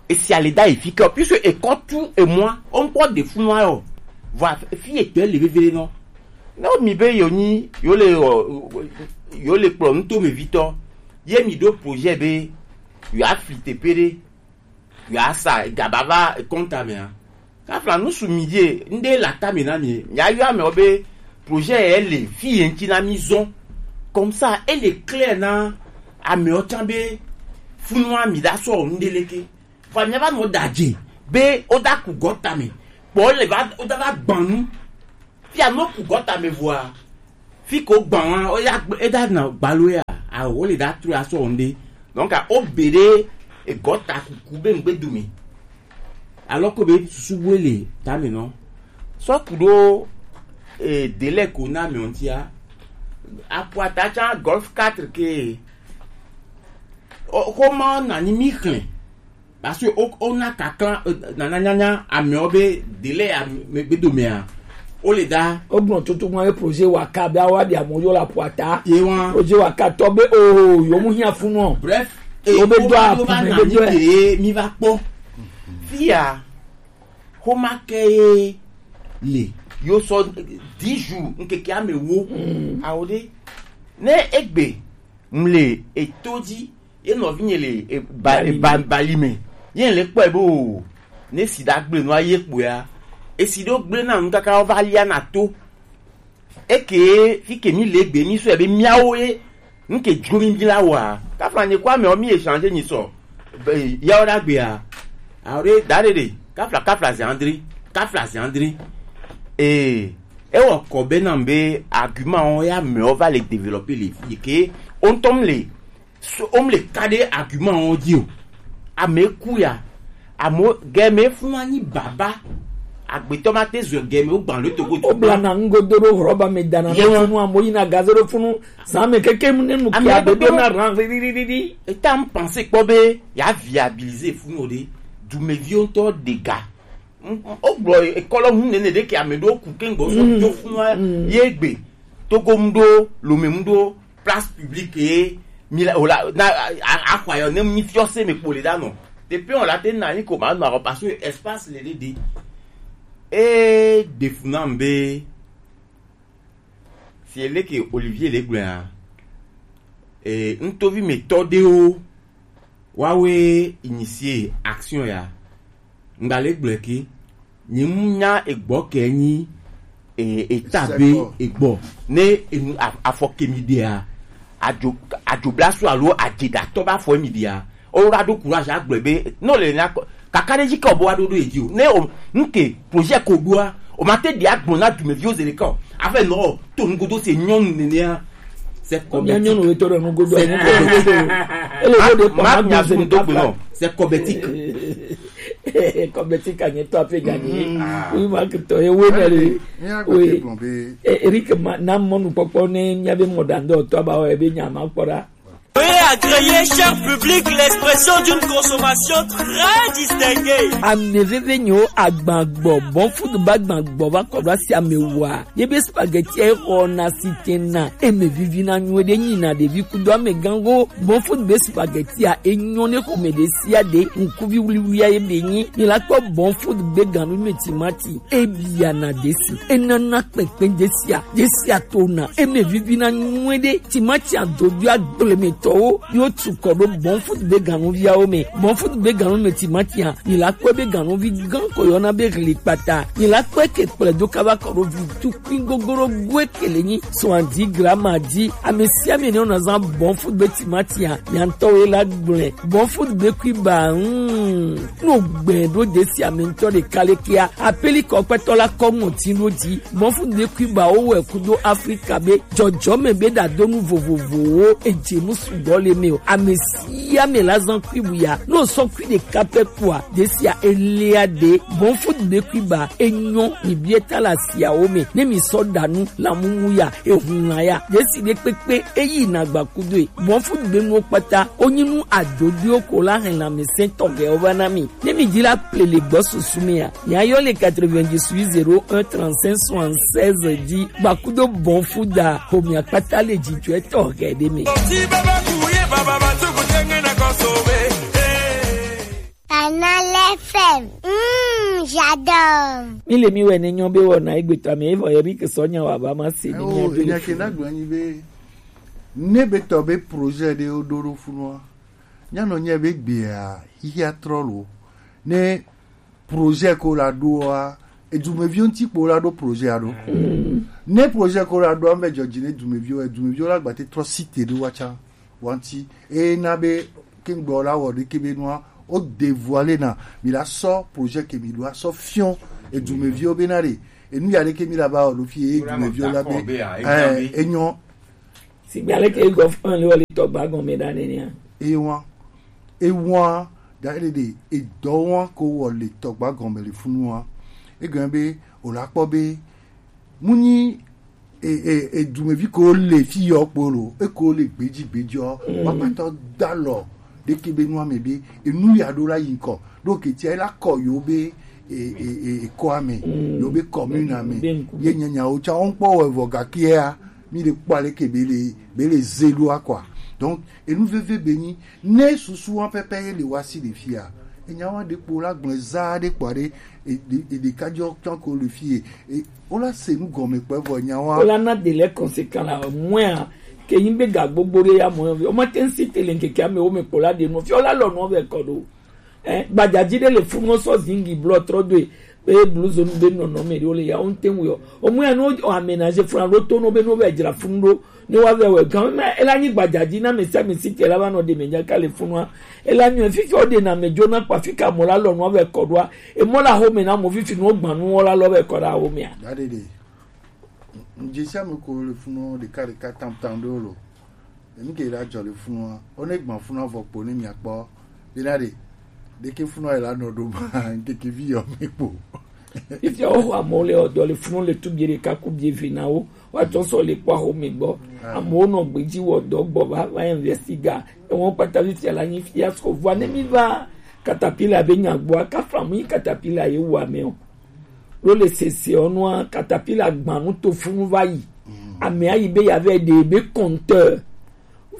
Esi ale da e fike o, puisque e kɔ tu e mwa, o nkɔ de funu ayo. Va fi e tɛ le vevele no. No mi be yo nyi, yo le, ɔ, yo le kplɔ nuto me vitɔ. Ye mi ɖo projet be, yo afli te pe ɖe. Yo asa gaba va kɔnta mea. Kafla nusu mi die, nde la ta me na mi. Mi ayɔ amewo be projet ye le fi ye ŋuti na mi zɔn. Comme ça, ele clair na amewo tsã be funua mi da sɔ nde leke. Fa mi va nɔ da dze be o da ku gɔta me. Kpɔ le va, o da va gbanu. Fia no ku gɔta me vɔa, fi ko gban wa, o ya gbe-, e da na gbalo ya, a o le da tro asɔ nde. Donc a o bere e gɔta kuku be ngbe du mi. Alors que be susu bu le ta me no. So ku do e délai ko na me ontia. Apuata cha Golf quatre ke. O ko ma na ni mi klen. Parce que o, o na kakla, euh, nana nyanya amewo be délai ya me gbedo mea, o le da. O gbɔn tutu mɔ ye projet wa ka be awa bi amo yo la puata. Ye wa. Projet wa ka tɔ be o yo mu hiã funu o. Bref, o be o do ma a do ma pu na be ni do e. Ke mi va kpɔ. Fia, homa ke ye le. Yo sɔ dix jours, nkeke ame wo. Mm. Awo de. Ne egbe, mle eto dzi, ye nɔvinye le, e, ba, e, ba, bali me. Ye le kpɔe be o, ne sida gble nua ye kpɔea, esi ɖo gble na nu kaka wo va lia na to. Eke fi ke mi le gbe mi sɔe be miawo ye, nu ke dzro mi bi la wa. Kafla nye kwa me o mi échanger nyi sɔ. Be, ya o da gbe a. A o de da de de. Kafla, Kafla ze André. Kafla ze André. Eh, e wɔ kɔ be na be argument o ya me o va le développer le fi ke o ntɔm le So, o mu le ka ɖe argument wo dzi o. Ame ku ya. Amo gɛmɛ funa nyi baba. Agbetɔ ma te zɔ gɛmɛ o gban le togo. O bla na ŋgodo ɖo rɔba me dana ye na wa funu amo yi na gaze ɖo funu. San me keke mu ne nu ame kia ɖe do do na ran ri ri ri ri. Eta m pense kpɔ be ya viabiliser funu ɖe. Dumeviwo ŋutɔ ɖe ga. M-, m-, o gblɔ ekɔlɔ ŋu nene ɖe ke ame ɖewo ku ke ŋgbɔ so mm, dzo funu mm, ye gbe. Togo mu ɖo, Lome mu ɖo, place publique ye, mi la, o la, na, a, a, axɔ ayɔ ne mi fiɔ se me kpo le da nɔ. Te pe o la te na ni ko ma nɔ arɔ parce que espace le ɖe ɖe. E ɖe fu nam be, si ele ke Olivier le gblɔa, e, ŋutɔvi me tɔ ɖewo, wawe initier action ya. Ŋgba le gblɔe ke, nye mu nya egbɔ ke nyi, e, eta be egbɔ. Ne enu af-, afɔ ke mi ɖea, adzo, adzoblasu alo adzeɖatɔ ba fɔ mi ɖea, o wa ɖo courage agblɔe be, no le nya kɔ, kaka ɖe dzi ke o bo wa ɖo ɖo edzi o. Ne o, nke projet ko ɖoa, o ma te ɖi agblɔ na dumeviwo ze ɖeka o. Afɛ nɔ, to nugodo se nyɔnu nenea, c'est kɔbɛtik. Nyɔnu etɔ ɖe nugodo, nugodo. Ele wo de kɔ ma do ze ɖeka. C'est kɔbɛtik. Kɔmɛti ka nye tɔ afi gani. Oui, ma kitɔ ye we na le. We. Eric ma na mɔnu kpɔkpɔ ne mia be mɔ dan dɔ tɔ ba o ebe nya ma kpɔ da. Veuillez agréer, cher public, l'expression d'une consommation très distinguée. Ame veve nyo agbagbɔ, bon food ba agbagbɔ va kɔ ɖo asi ame wa. Ye be spaghetti e xɔ na si te na, e me vivi na nyuie ɖe nyi na ɖevi kudo ame gango. Bon food be spaghetti a e nyɔ ne xɔme ɖe sia ɖe, ŋkuvi wuliwulia ye be nyi. Mi la kpɔ bon food be ganu me timati, e bia na desi, e nana kpɛkpɛ desia, desia to na, e me vivi na nyuie ɖe. Timati adodo agblemetɔwo yo tu kɔ ɖo bon food be ganuviawo me. Bon food be ganu me timati a, mi la kpɔ be ganuvi gan ko yɔna be hli kpata. Mi la kpɔ ke kplɛ do kaba kɔ ɖo vi tukui gogoro goe kele nyi soixante-dix grammes a di. Ame sia ame ne wona zan bon food be timati a, nya ŋutɔ wo la gblẽ. Bon food be kui ba, hmm. No gbɛ ɖo desi ame ŋutɔ ɖeka le kia. Apeli kɔ kpɛtɔ la kɔ ŋɔti ɖo di. Bon food be kui ba wo wɛ kudo Afrika be jɔjɔme be ɖadonu vovovowo eje nu sugbɔ le me o. Ame sia ame la zan kui bu ya. No sɔ kui ɖeka pɛ kua, desia elia de. Bon food be kui ba enyɔ mi bie ta la siawo me. Ne mi sɔ ɖa nu la mumu ya, ehun la ya. Desi ɖe kpekpe eyi na gba kudo e. Bon food be nuwo kpata, o nyi nu adodoe ko la hɛn la mi sɛn tɔ gɛ o va na mi. Ne mi di la ple le gbɔ susu mi a. Nya yɔ le quatre-vingt-dix-huit zéro un trente-cinq soixante-seize di. Gba kudo bon food a, ho mi akpata le jijɔ etɔ gɛ de mi. Canal F M. Mm, j'adore. Mi le mi wɛ ne nyɔ be wɔ na egbe tɔ ame evɔ yɛ bi ke sɔ nya wa ba ma se ni mi. Enya ke na gblɔ nyi be ne be tɔ be projet ɖe wo ɖo ɖo funua. Nya nɔ nye be gbea xixia trɔ lo. Ne projet ko la ɖoa, edumeviwo ŋuti kpo la ɖo projet a ɖo. Ne projet ko la ɖo ame dzɔdzi ne dumeviwo, edumeviwo la gbate trɔ site ɖo wa tsa. Wanti eye na be kengbe la wɔ ɖeke be nua o dévoiler na mi la sɔ projet ke mi ɖo asɔ fiɔ edumeviwo be na ɖe enu ya ɖeke mi la ba wɔ ɖo fi edumeviwo la be eh, enyɔ. Sigbe aleke gɔfɔn le wɔ le tɔgba gɔme ɖa nenia. Ewa ewa da ɖe ɖe edɔ wa ko wɔ le tɔgba gɔme le funua. Egɔme be o la kpɔ be mu nyi e, e, e, dumevi ko le fi yɔ kpo lo, e ko le gbedzi gbedzi ɔ, mm, wa patɔ da lɔ ɖeke be nua me be enu ya ɖo la yi ŋkɔ ɖo ketia e la kɔ yo be e, e, e, e kɔa me, mm, yo be commune a me, be ŋku ye nyanyawo tsa wo ŋkpɔ wɔ evɔ gakia mi le kpɔ ale ke be le be le ze ɖoa kɔa. Donc enu veve be nyi ne susu wa pɛpɛ ye le wa si le fia. Enya wa ɖe kpo la gblẽ za ɖe kpɔ ɖe e, e, e ɖeka jɔ tɔn ko le fie. E, Wola se nu gɔme kpɛ vɔ nya wa. Wola na de lɛ conséquent la mɔa ke yin be ga gbogbo ɖe ya mɔ yɔ. O ma te ŋsi te le ŋkeke ame wo me kpo la de nu. Fi wola lɔ nu vɛ kɔ ɖo. Eh, gbadzaji ɖe le funu sɔ zingi blɔ trɔ do e. Be blues nu be nɔnɔ me ɖe wo le ya wo ŋte ŋu yɔ. O mɔa nu aménagé funa ɖo to no be no vɛ dzra funu ɖo. Ne wa vɛ wɛ gan me ela nyi gbadzaji na me sia me si te la va nɔ de me nya ka le funua. Ela nyi fifi o de na me jo na kpa fi ka mɔ la lɔ nu vɛ kɔ ɖoa. Emɔ la xɔme na mɔ fifi nuwo gbã nuwo la lɔ be kɔ ɖe axɔmea. Daɖeɖe. Ŋdze sia me ko le funɔ ɖeka ɖeka tam tam ɖewo lo. Enu ke la dzɔ le funua. Wo ne gbã funua vɔ kpo ne mia kpɔ. Bena ɖe. Ɖeke funua yi la nɔ ɖo ma ŋkeke vi yɔ me kpo. Fifia wo xɔ amewo le ɔdɔ le funɔ le tu bie ɖeka ku bie ve na wo. Woatsɔ sɔ le kpɔ axɔme gbɔ. Amewo nɔ gbedzi wɔ dɔ gbɔ va va investigate. Ewo kpata fifia la nyi fiasco. Vɔa ne mi va katapila be nya gbɔa, kafla mu nyi katapila ye wu ame o. Ɖo le sese ɔnua, katapila gbã nu to funu va yi. Amea yi be ya vɛ ɖe be compteur.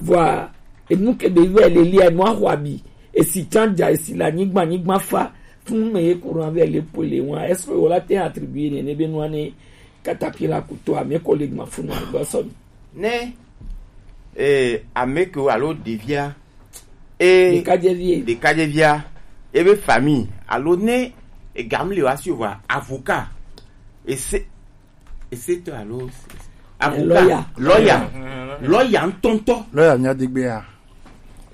Vɔa enu ke be vɛ le lia, enua xɔ abi. Esi tsã dza, esi le anyigba, anyigba fa. Funu me ye courant vɛ le poe le wa. Est-ce que wola te attribuer nene be nua ne katapila kuto ame ko le gbã funu gbɔ sɔ mi? Ne eh, ame ke alo ɖevia e ɖekadzevie ɖekadzevia ebe famille alo ne egam le wa si wa avocat ese ese to alo avocat lawyer lawyer lawyer ŋutɔŋutɔ lawyer nya degbea.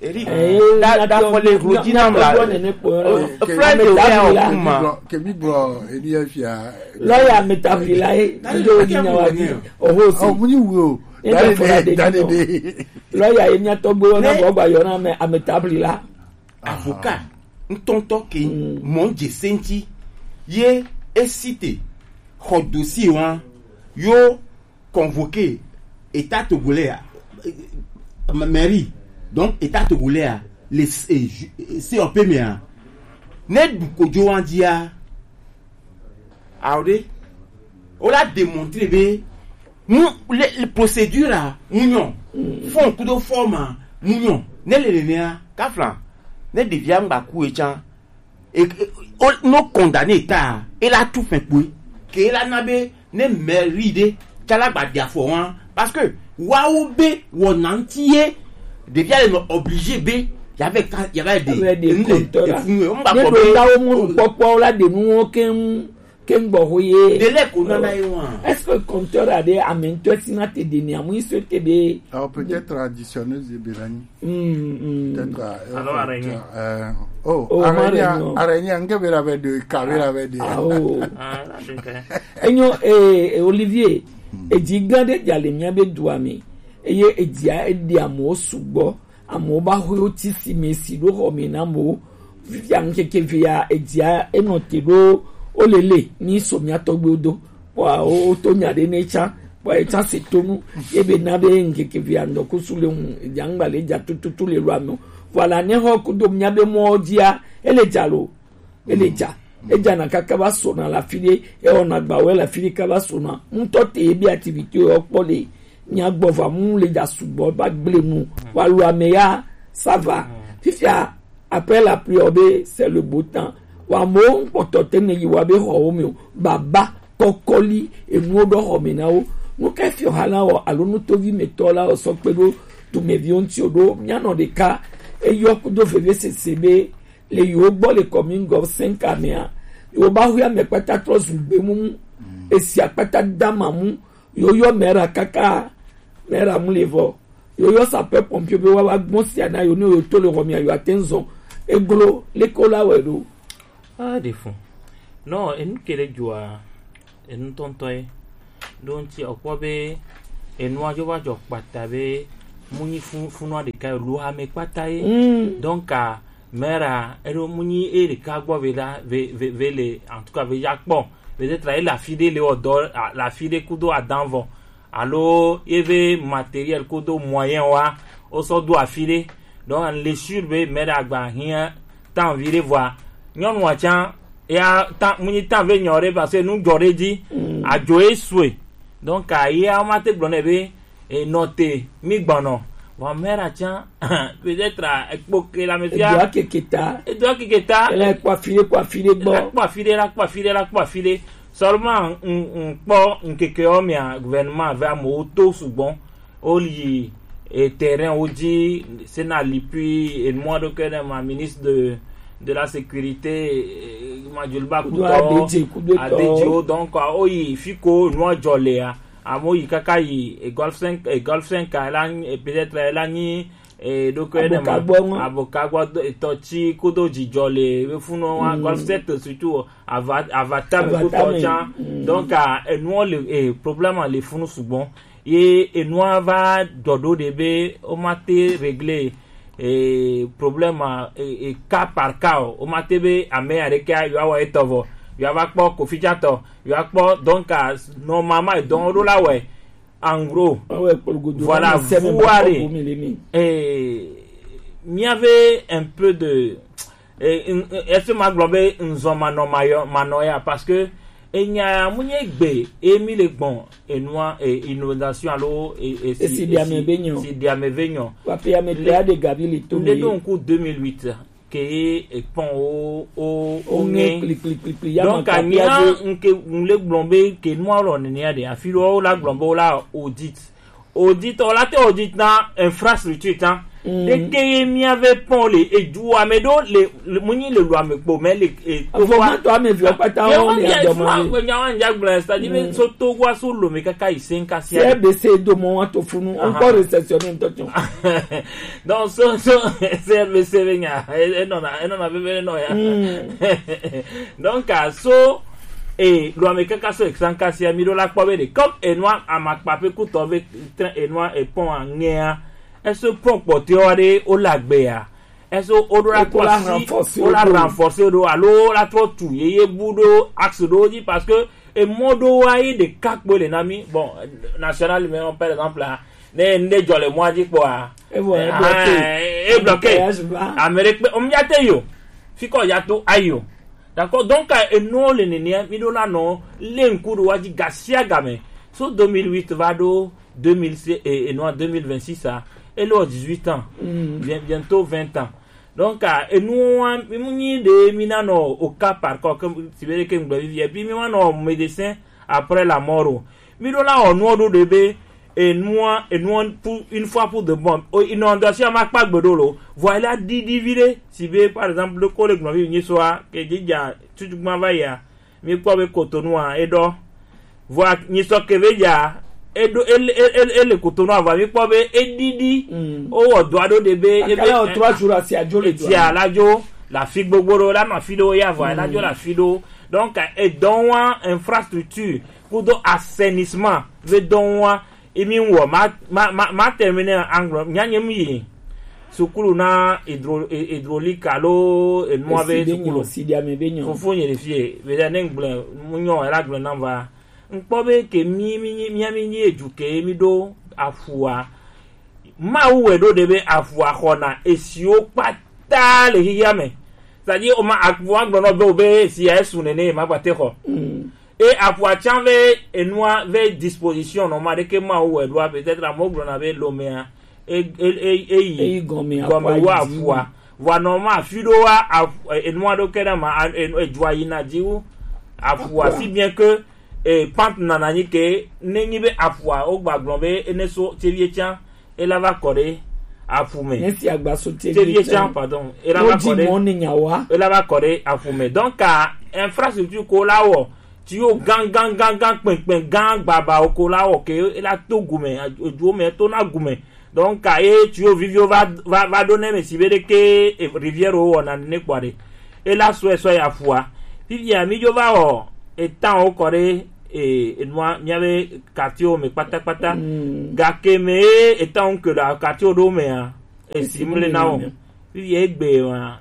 Eric, eh, da da fɔ le rodzi nam la. Friday wɛ o kuma. Kemi gblɔ eni ya fia. Lawyer me ta fi la e. Ndo ni nya wa di. Oho si. Oh, mu ni wu o. Dani de, dani de. Lawyer ye mia tɔgbe wɔna bɔ gba yɔna me ame tabli la. Avocat. ŋutɔŋutɔ ke mɔ dze senti ye esite xɔ dossier wa yo convoqué état togolais a mairie, donc état togolais a le C O P me a ne du kojo wa dia awo de o la démontrer be mu le procédure a mu nyɔ fond kudo forme a mu nyɔ ne le nenea kafla ne ɖevia ŋgba ku etsã e, e, o, no condamné ta e la tu fɛn kpoe ke e la na be ne mairie ɖe tsala gba ɖi afɔ wa parce que wawo be wɔna ŋuti ye ɖevia le nɔ obligé be yava ka yava ɖe ŋu le efun ye ŋgba kɔ be ne ɖo tawo mu kpɔkpɔ la ɖe nuwo keŋ keŋ gbɔ ho ye de le ko nana ye wa est-ce que compteur a ɖe ame ŋutɔ si na te ɖe ni amu iso te be alors peut-être traditionnel de belani Mm, mm. Peut-être euh, alors araignée euh, oh, oh araignée araignée nge bera be de ka bera be de ah oh ah enyo eh, eh Olivier edzi gã ɖe dza le mía be dua me eye edzia eɖi amewo sugbɔ amewo ba xɔe wotsi si me si ɖo xɔ me na amewo fifia ŋkeke vea edzia enɔ te ɖo olele ni so mía tɔgbewo do kpɔa woto nya ɖe ne tsã kpɔa etsã se tonu ebe na be ŋkeke vea ŋdɔkusu le ŋu edzia ŋgba le dza tututu le lua me o kpɔa la ne xɔ kudo mía be mɔwo dzia ele dza lo ele dza edzana kaka va sona le afi ɖe ewɔna gbawo le afi ɖe kaka va sona ŋutɔ te ebe activité wo kpɔ le mía gbɔ va mu le dza sugbɔ va gble nu wa lu ame ya ça va fifia après la pluie be c'est le beau temps wa mo ŋkpɔtɔ te ne yi wa be xɔwo me o baba kɔkɔli enuwo ɖɔ xɔ me na wo nu ka fiɔ ha la wɔ alo nutovi me tɔ la wɔ sɔ kpe ɖo dumeviwo ŋuti o ɖo mía nɔ ɖeka eyɔ kudo veve sese be le yewo gbɔ le commune gɔv cinq mea yewo ba hu ame kpata trɔ zu gbemumu esi akpata dama mu yewo yɔ mera kaka mera mu le vɔ yewo yɔ sapeur pompier be wa wa gbɔn sia na yewo ne yewo to le xɔ mea yewo ate ŋu zɔn eglo leke wo la wɛ ɖo. Ah, de fun. Non, enu ke ɖe dzɔa enu tɔntɔ ye ɖo ŋuti ɔkpɔ be enua dzo va dzɔ kpata be mu nyi fun funua ɖeka ye lo ame kpata ye donc a mera eɖo mu nyi e ɖeka gbɔ ve la ve ve ve le en tout cas ve ya kpɔ peut-être ele afi ɖe le wɔ dɔ le afi ɖe kudo adan vɔ alo ye ve matériel kudo moyen wa wo sɔ do afi ɖe donc le sûr be mera gba hiã tan vi ɖe vɔa nyɔnua tsã ya tan mu nyi tan ve nyɔ ɖe parce que nu dzɔ ɖe dzi adzo ye sue donc a ye a ma te gblɔ nɛ be enɔ te mi gbɔnɔ vɔ mera tsã peut-être ekpo ke la me fia edoa keke ta edoa keke ta ele kpɔ afi ɖe kpɔ afi ɖe gbɔ la kpɔ afi ɖe la kpɔ afi ɖe la kpɔ afi ɖe seulement n n kpɔ nkeke wo mia gouvernement ve amewo to sugbɔ Oli et terrain wo dzi sena lipui et moi donc ne ma ministre de de la sécurité eh, majulba kudo adedzi kudo adedzi wo donc o yi fiko nua dzɔ lea amo yi kaka yi e golf cinq e golf cinq a la peut-être la nyi e donc ne ma abokagbɔ etɔ tsi kudo dzidzɔ le be funu wa golf sept surtout ava ava tame kutɔ tsã donc enua le eh, problème le funu sugbɔ ye enua va dɔdo de be o ma te régler eh, problème eh, eh, cas par cas o o ma te be ame aɖeke yo awɔ etɔ vɔ yo ava kpɔ kofitsatɔ yo akpɔ donc normalement edɔn ɖo la wɛ en gros voilà vous allez eh, miave un peu de est-ce que magblɔ be nzɔ manɔ mayɔ manɔ ya parce que enya mu nye gbe emi le gbɔn enua inondation alo esi diame be nyɔ si diame ve nyɔ papi ame te ade gabi le to ne do nku deux mille huit ke ye ekpɔn o o o ŋe kplikplikplikpli ya donc anya nke le gblɔ be ke nua lɔ nenia de afi lɔ la gblɔ be o la audit audit o la te audit na infrastructure tan ɖeke ye mía ve pɔn le edu ame ɖewo le mu nyi le lu ame kpo mɛ le e to wa avɔmatɔ ame viwo kpata wo le adɔmɔ le nyawa nja gblɔ c'est-à-dire so to wa so lo me kaka yi se nka sia cbc do mɔ wa to funu encore réceptionné ntɔ tso donc so so cbc be nya enɔna enɔna bebe enɔ ya donc a so e lu ame kaka so exan ka sia mi ɖo la kpɔ be de comme enua amakpa pe kutɔ ve trɛn enua epɔn aŋea ese pɔn kpɔtɔewo aɖe wole agbea Est-ce que o ɖo la trɔ si, o la renforcer ɖo alo o la trɔ tu yeye bu ɖo axe ɖo dzi, parce que emɔ ɖo wa ye ɖeka kpoe le na mi. Bon, national, mais par exemple, ah, ne ŋɖe dzɔ le mɔa dzi kpɔa, e bloqué. Ame ɖe kpe o mi ya te yo. Fi kɔ ya to ayo. D'accord, donc, euh, enɔ le nene mi ɖo la nɔ le ŋku ɖo wa dzi gasiagame. So deux mille huit va ɖo deux mille six et, et non deux mille vingt-six, ça, elle a dix-huit ans. Bien, bientôt vingt ans. Donc, euh, et nous, hein, mi mu nyi de mi na nɔ au cas par cas, comme si vous voulez que nous vivions, et puis mi ma nɔ médecin après la mort o. Mi ɖo la wɔ nuɔ ɖo ɖe be enua enua pour une fois pour de bon, o inondation ma kpa gbe ɖo lo. Vɔ ela ɖiɖi vi ɖe si be par exemple ɖo ko le gblɔ vi nyi soa ke dzi dza tutu gbã va yia. Mi kpɔ be Cotonou a eɖɔ. Vɔa nyisɔ ke be dza eɖo ele ele ele Cotonou a vɔa mi kpɔ be eɖiɖi. Mm. O wɔ dɔa ɖo ɖe be ebe akala o trois jours asi adzo le dɔa etia la dzo la fi gbogbo ɖo la nɔ afi ɖo ya vɔa la dzo la fi ɖo. Donc edɔn wa infrastructure kudo assainissement ve dɔn wa emi wɔ ma ma ma ma terminer anglo nya nye mi yi sukulu na hydro hydraulique alo enua ve sukulu. Fofo nye le fie be da ne ngble mu nyɔ ela gble na va nkpɔ be ke mi mi mi mi mi edu ke mi ɖo afua. Mawu wɛ ɖo ɖe be afua xɔna esiwo kpata le xixia me. C'est-à-dire o ma afua gblɔ nɔ be o be esia esu nene ma gbate xɔ. E afua tsan ve enua ve disposition nɔ ma ɖeke Mawu wɛ ɖoa, peut-être amewo gblɔna be lomea e e e eyi gɔme wu afua. Vɔa nɔ ma afi ɖo wa enua ɖo ke ɖe ma edzua yina dzi wu afua, si bien que e pant nana nyi ke ne nyi be afua wo gba gblɔ be ene so tevie tsan ela va kɔ ɖe aƒu me. Esi agbaso tevie tsan pardon ela va kɔ ɖe ela va kɔ ɖe aƒu me. Donc infrastructure ko la wɔ tuyau gã gã gã gã kpɛnkpɛn gã gbaba ko la wɔ ke ela to gume eduwo me to na gume. Donc ka ye tuyau viviwo va va va ɖo ne me si be ɖeke rivière wo wɔna ne kpɔ ɖe ela sɔe sɔe aƒua. Fifia mi dzo va wɔ etan wo kɔ ɖe e enua mía be quartier wo me kpatakpata. Gake me ye etan wo ke le quartier wo ɖo mea esi mle na wo. Fifia egbe wa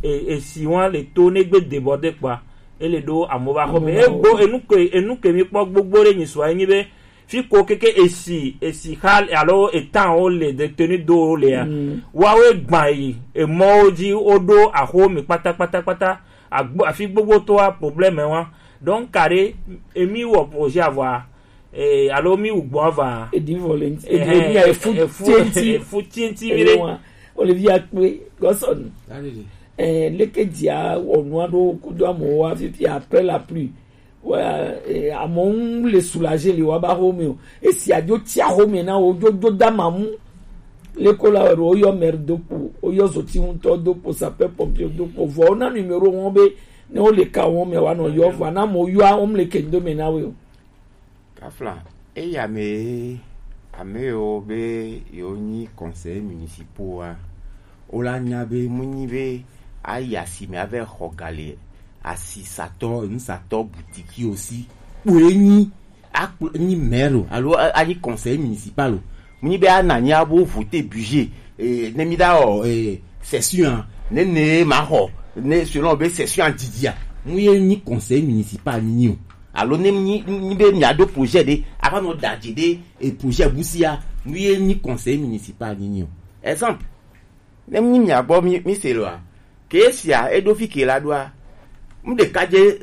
e esi wa le to ne gbe débordé kpɔa ele ɖo amewo va xɔ me egbo enu ke enu ke mi kpɔ gbogbo ɖe nyi sua enyi be fi ko keke esi esi xa alo etan wo le de tenu do wo lea wawo egba yi emɔwo dzi wo ɖo axo mi kpata kpata kpata agbo afi gbogbo to wa problème wa. Donc ka ɖe emi wɔ projet avɔa eh, alo mi wu gbɔ ava. Edi volenti. Edi edi ya efu tienti. Efu tienti mi ɖe. Wa o le vi akpe gɔsɔnu. Eh, leke dia wɔnu aɖo kudo amewo wa fifi après la pluie. Wa eh, amewo ŋu le soulager le wa ba xo me o. Esi adzo tia xo me na wo dzo dzo da mamu. Leko la wɛ ɖo woyɔ maire do kpo, woyɔ zoti ŋutɔ do kpo, sapeur pompier do kpo. Vɔ wona numéro wɔn be ne wo le ka wɔn me wa nɔ yɔ vɔ na mo yɔ wo mle kendo me na we o. Kafla, eya me ame yiwo be yewo nyi conseillers municipaux a, wo la nya be mu nyi be ayi asime ave xɔ ga le asisatɔ nusatɔ butikiwo si kpoe nyi akplɔ nyi maire o alo a- anyi conseiller municipal o. Mu nyi be ana nyi abo voter budget eh, ne mi da o eh, session a ne ne ma xɔ ne selon be session a didi a mu ye nyi conseiller municipal nyi o. Alo ne mi nyi be mia do projet de ava nɔ da dze de e projet busia mu ye nyi conseiller municipal nyi o. Exemple, ne mi mia gbɔ mi mi se loa ke sia eɖo fi ke la ɖoa mu ɖeka dze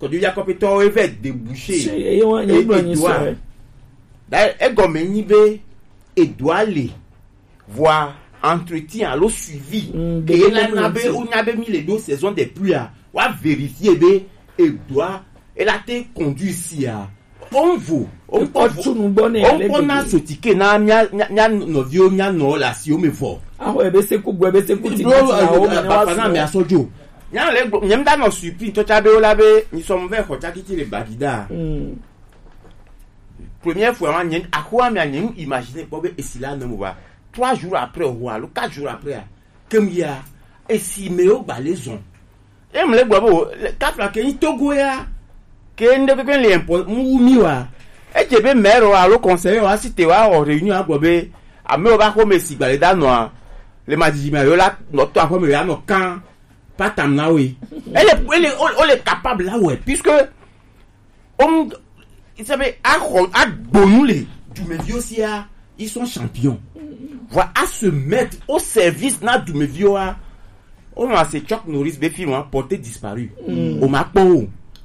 kɔdivia kɔpetɔwo eve débouché. Eye wa nye gblɔ nyi sɔ. Da egɔme nyi be edoa le vɔa entretien alo suivi ke la na be wonya be mi le ɖo saison des pluies a wa vérifier be edoa ela te conduire sia. Onvo onkpɔ tunu gbɔ ne ale gbegbe. Onkpɔ na sotike na mia mia nɔviwo mia nɔ le asiwo me vɔ. Ahɔ ebe se ku gbɔ ebe se ku ti ti na wo me ne wa sɔ. Nya le gbɔ nyem da nɔ surpris ntɔ tsa be wo la be nyisɔmu vɛ xɔ tsakiti le Bagida. Première fois ma nye axoa mea nye nu imaginer kpɔ be esi la nɔ mo va trois jours après ho alo quatre jours après a kem ya esi me wo gba le zɔn. Em le gbɔ be wo kafla ke nyi Togo ya ke ŋɖe kpekpe le impɔ mu wu mi wa. Edze be maire wa alo conseiller wa si te wa wɔ réunion agbɔ be amewo va xɔ me si gba le da nɔa Le ma didi ma yo la nɔ to axɔ me ya nɔ kan. Pas tam na we. Elle est, elle est, on, on est capable là ouais puisque on, il s'appelle axɔ agbonu le. Dumevi aussi a, ils sont champions. Voilà, à se mettre au service na dumevi a. On a ce Chuck Norris be film hein, porté disparu. On m'a pas.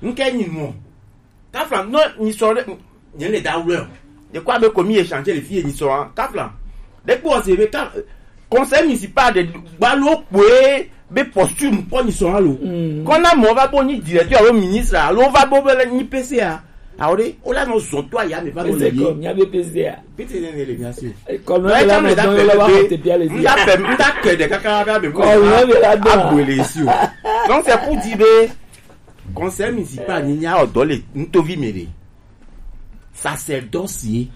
Nke ni mo. Kafla, non, ni sɔrɔ ɖe, nye le da wlɔ. De quoi be komi échanger le fille ni sɔrɔ, hein. Kafla. De quoi c'est be ka, conseil municipal de balo kwe be posture ko ni sɔrɔ lo. Kona mo va bo ni directeur alo ministre alo va bo be ni P C A. Awore, o la no zonto aya me va mo le. Ese ko nya be P C A. Pete ne ne le bien sûr. Comme là, là, maintenant, là, on va te bien les dire. Nda pe, nda ke de kaka ba be ko. Comme là, là, là. Abwele ici. Donc c'est pour dire be conseil municipal ni nya odo le ntovi mere. Sacerdoce ye.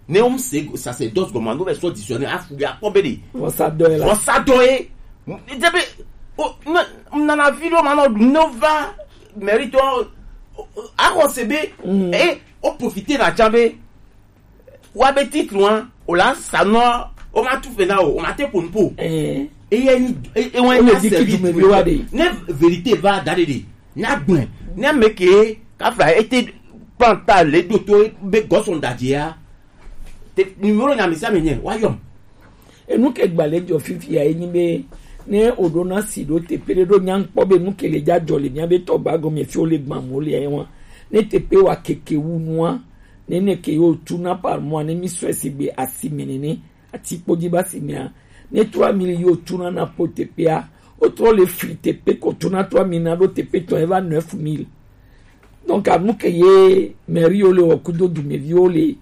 Ne um se sacerdoce gɔme no bɛ sɔ dictionnaire afu ya kpɔ be de. Vɔsadɔ ye. Vɔsadɔ ye. Dze be o na nana vi ɖo ma nɔ no va mérite o axɔ se be e o profiter na tsa be wa be titre wa o la sa nɔ o ma tu fe na o o ma te po nu po. Eye ni e wa ni service wa de. Ne vérité va da de de. Nya gbɔn ne ame ke kafla ete kplan ta le ɖo to be gɔsɔn da dzia. Te numéro nya mi sa me nye wa yɔm. Enu ke gba le dzɔ fifia ye nyi be ne o ɖo na si ɖo teƒe ɖe ɖo nya kpɔ be nu ke le dza dzɔ le mia be tɔgba gɔme fi o le gbã mo le ye wa ne teƒe wa keke wu nua ne ne ke yo tu na par mois ne mi sɔe si gbe asi me nene. Atikpo dzi va si mea, ne trois mille yi wotuna na po teƒea, wotrɔ le fli teƒe ko tuna trois mille na ɖo teƒe tɔ eva neuf mille. Donc anu ke ye mairie wo le wɔ kudo dumeviwo le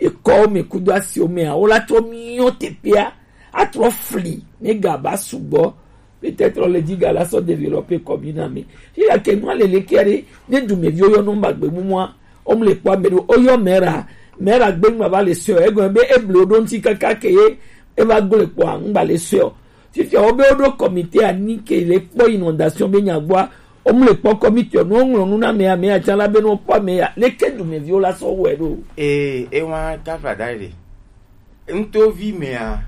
ekɔwo me kudo asiwo mea, wo la trɔ miɔ teƒea atrɔ fli ne ga va sugbɔ. Peut-être le dzi ga la sɔ développer commune me. Fi ya ke nua le le kia ɖe ne dumeviwo yɔ nɔ ba gbe mumua, o mu le kpɔ ame ɖo o yɔ mera mera gbe ŋgba va le sɔ egɔme be eble wo ɖo ŋuti kaka ke ye eva gble kpɔa ŋgba le sɔ. Fifia wo be wo ɖo comité ani ke le kpɔ inondation be nya gbɔa, o mu le kpɔ comité no ŋlɔ nu na me ame ya tsã la be no kpɔ ame ya leke dumeviwo la sɔ wɛ ɖo. Ee, ewa kafla da ɖe. Ŋtovi mea,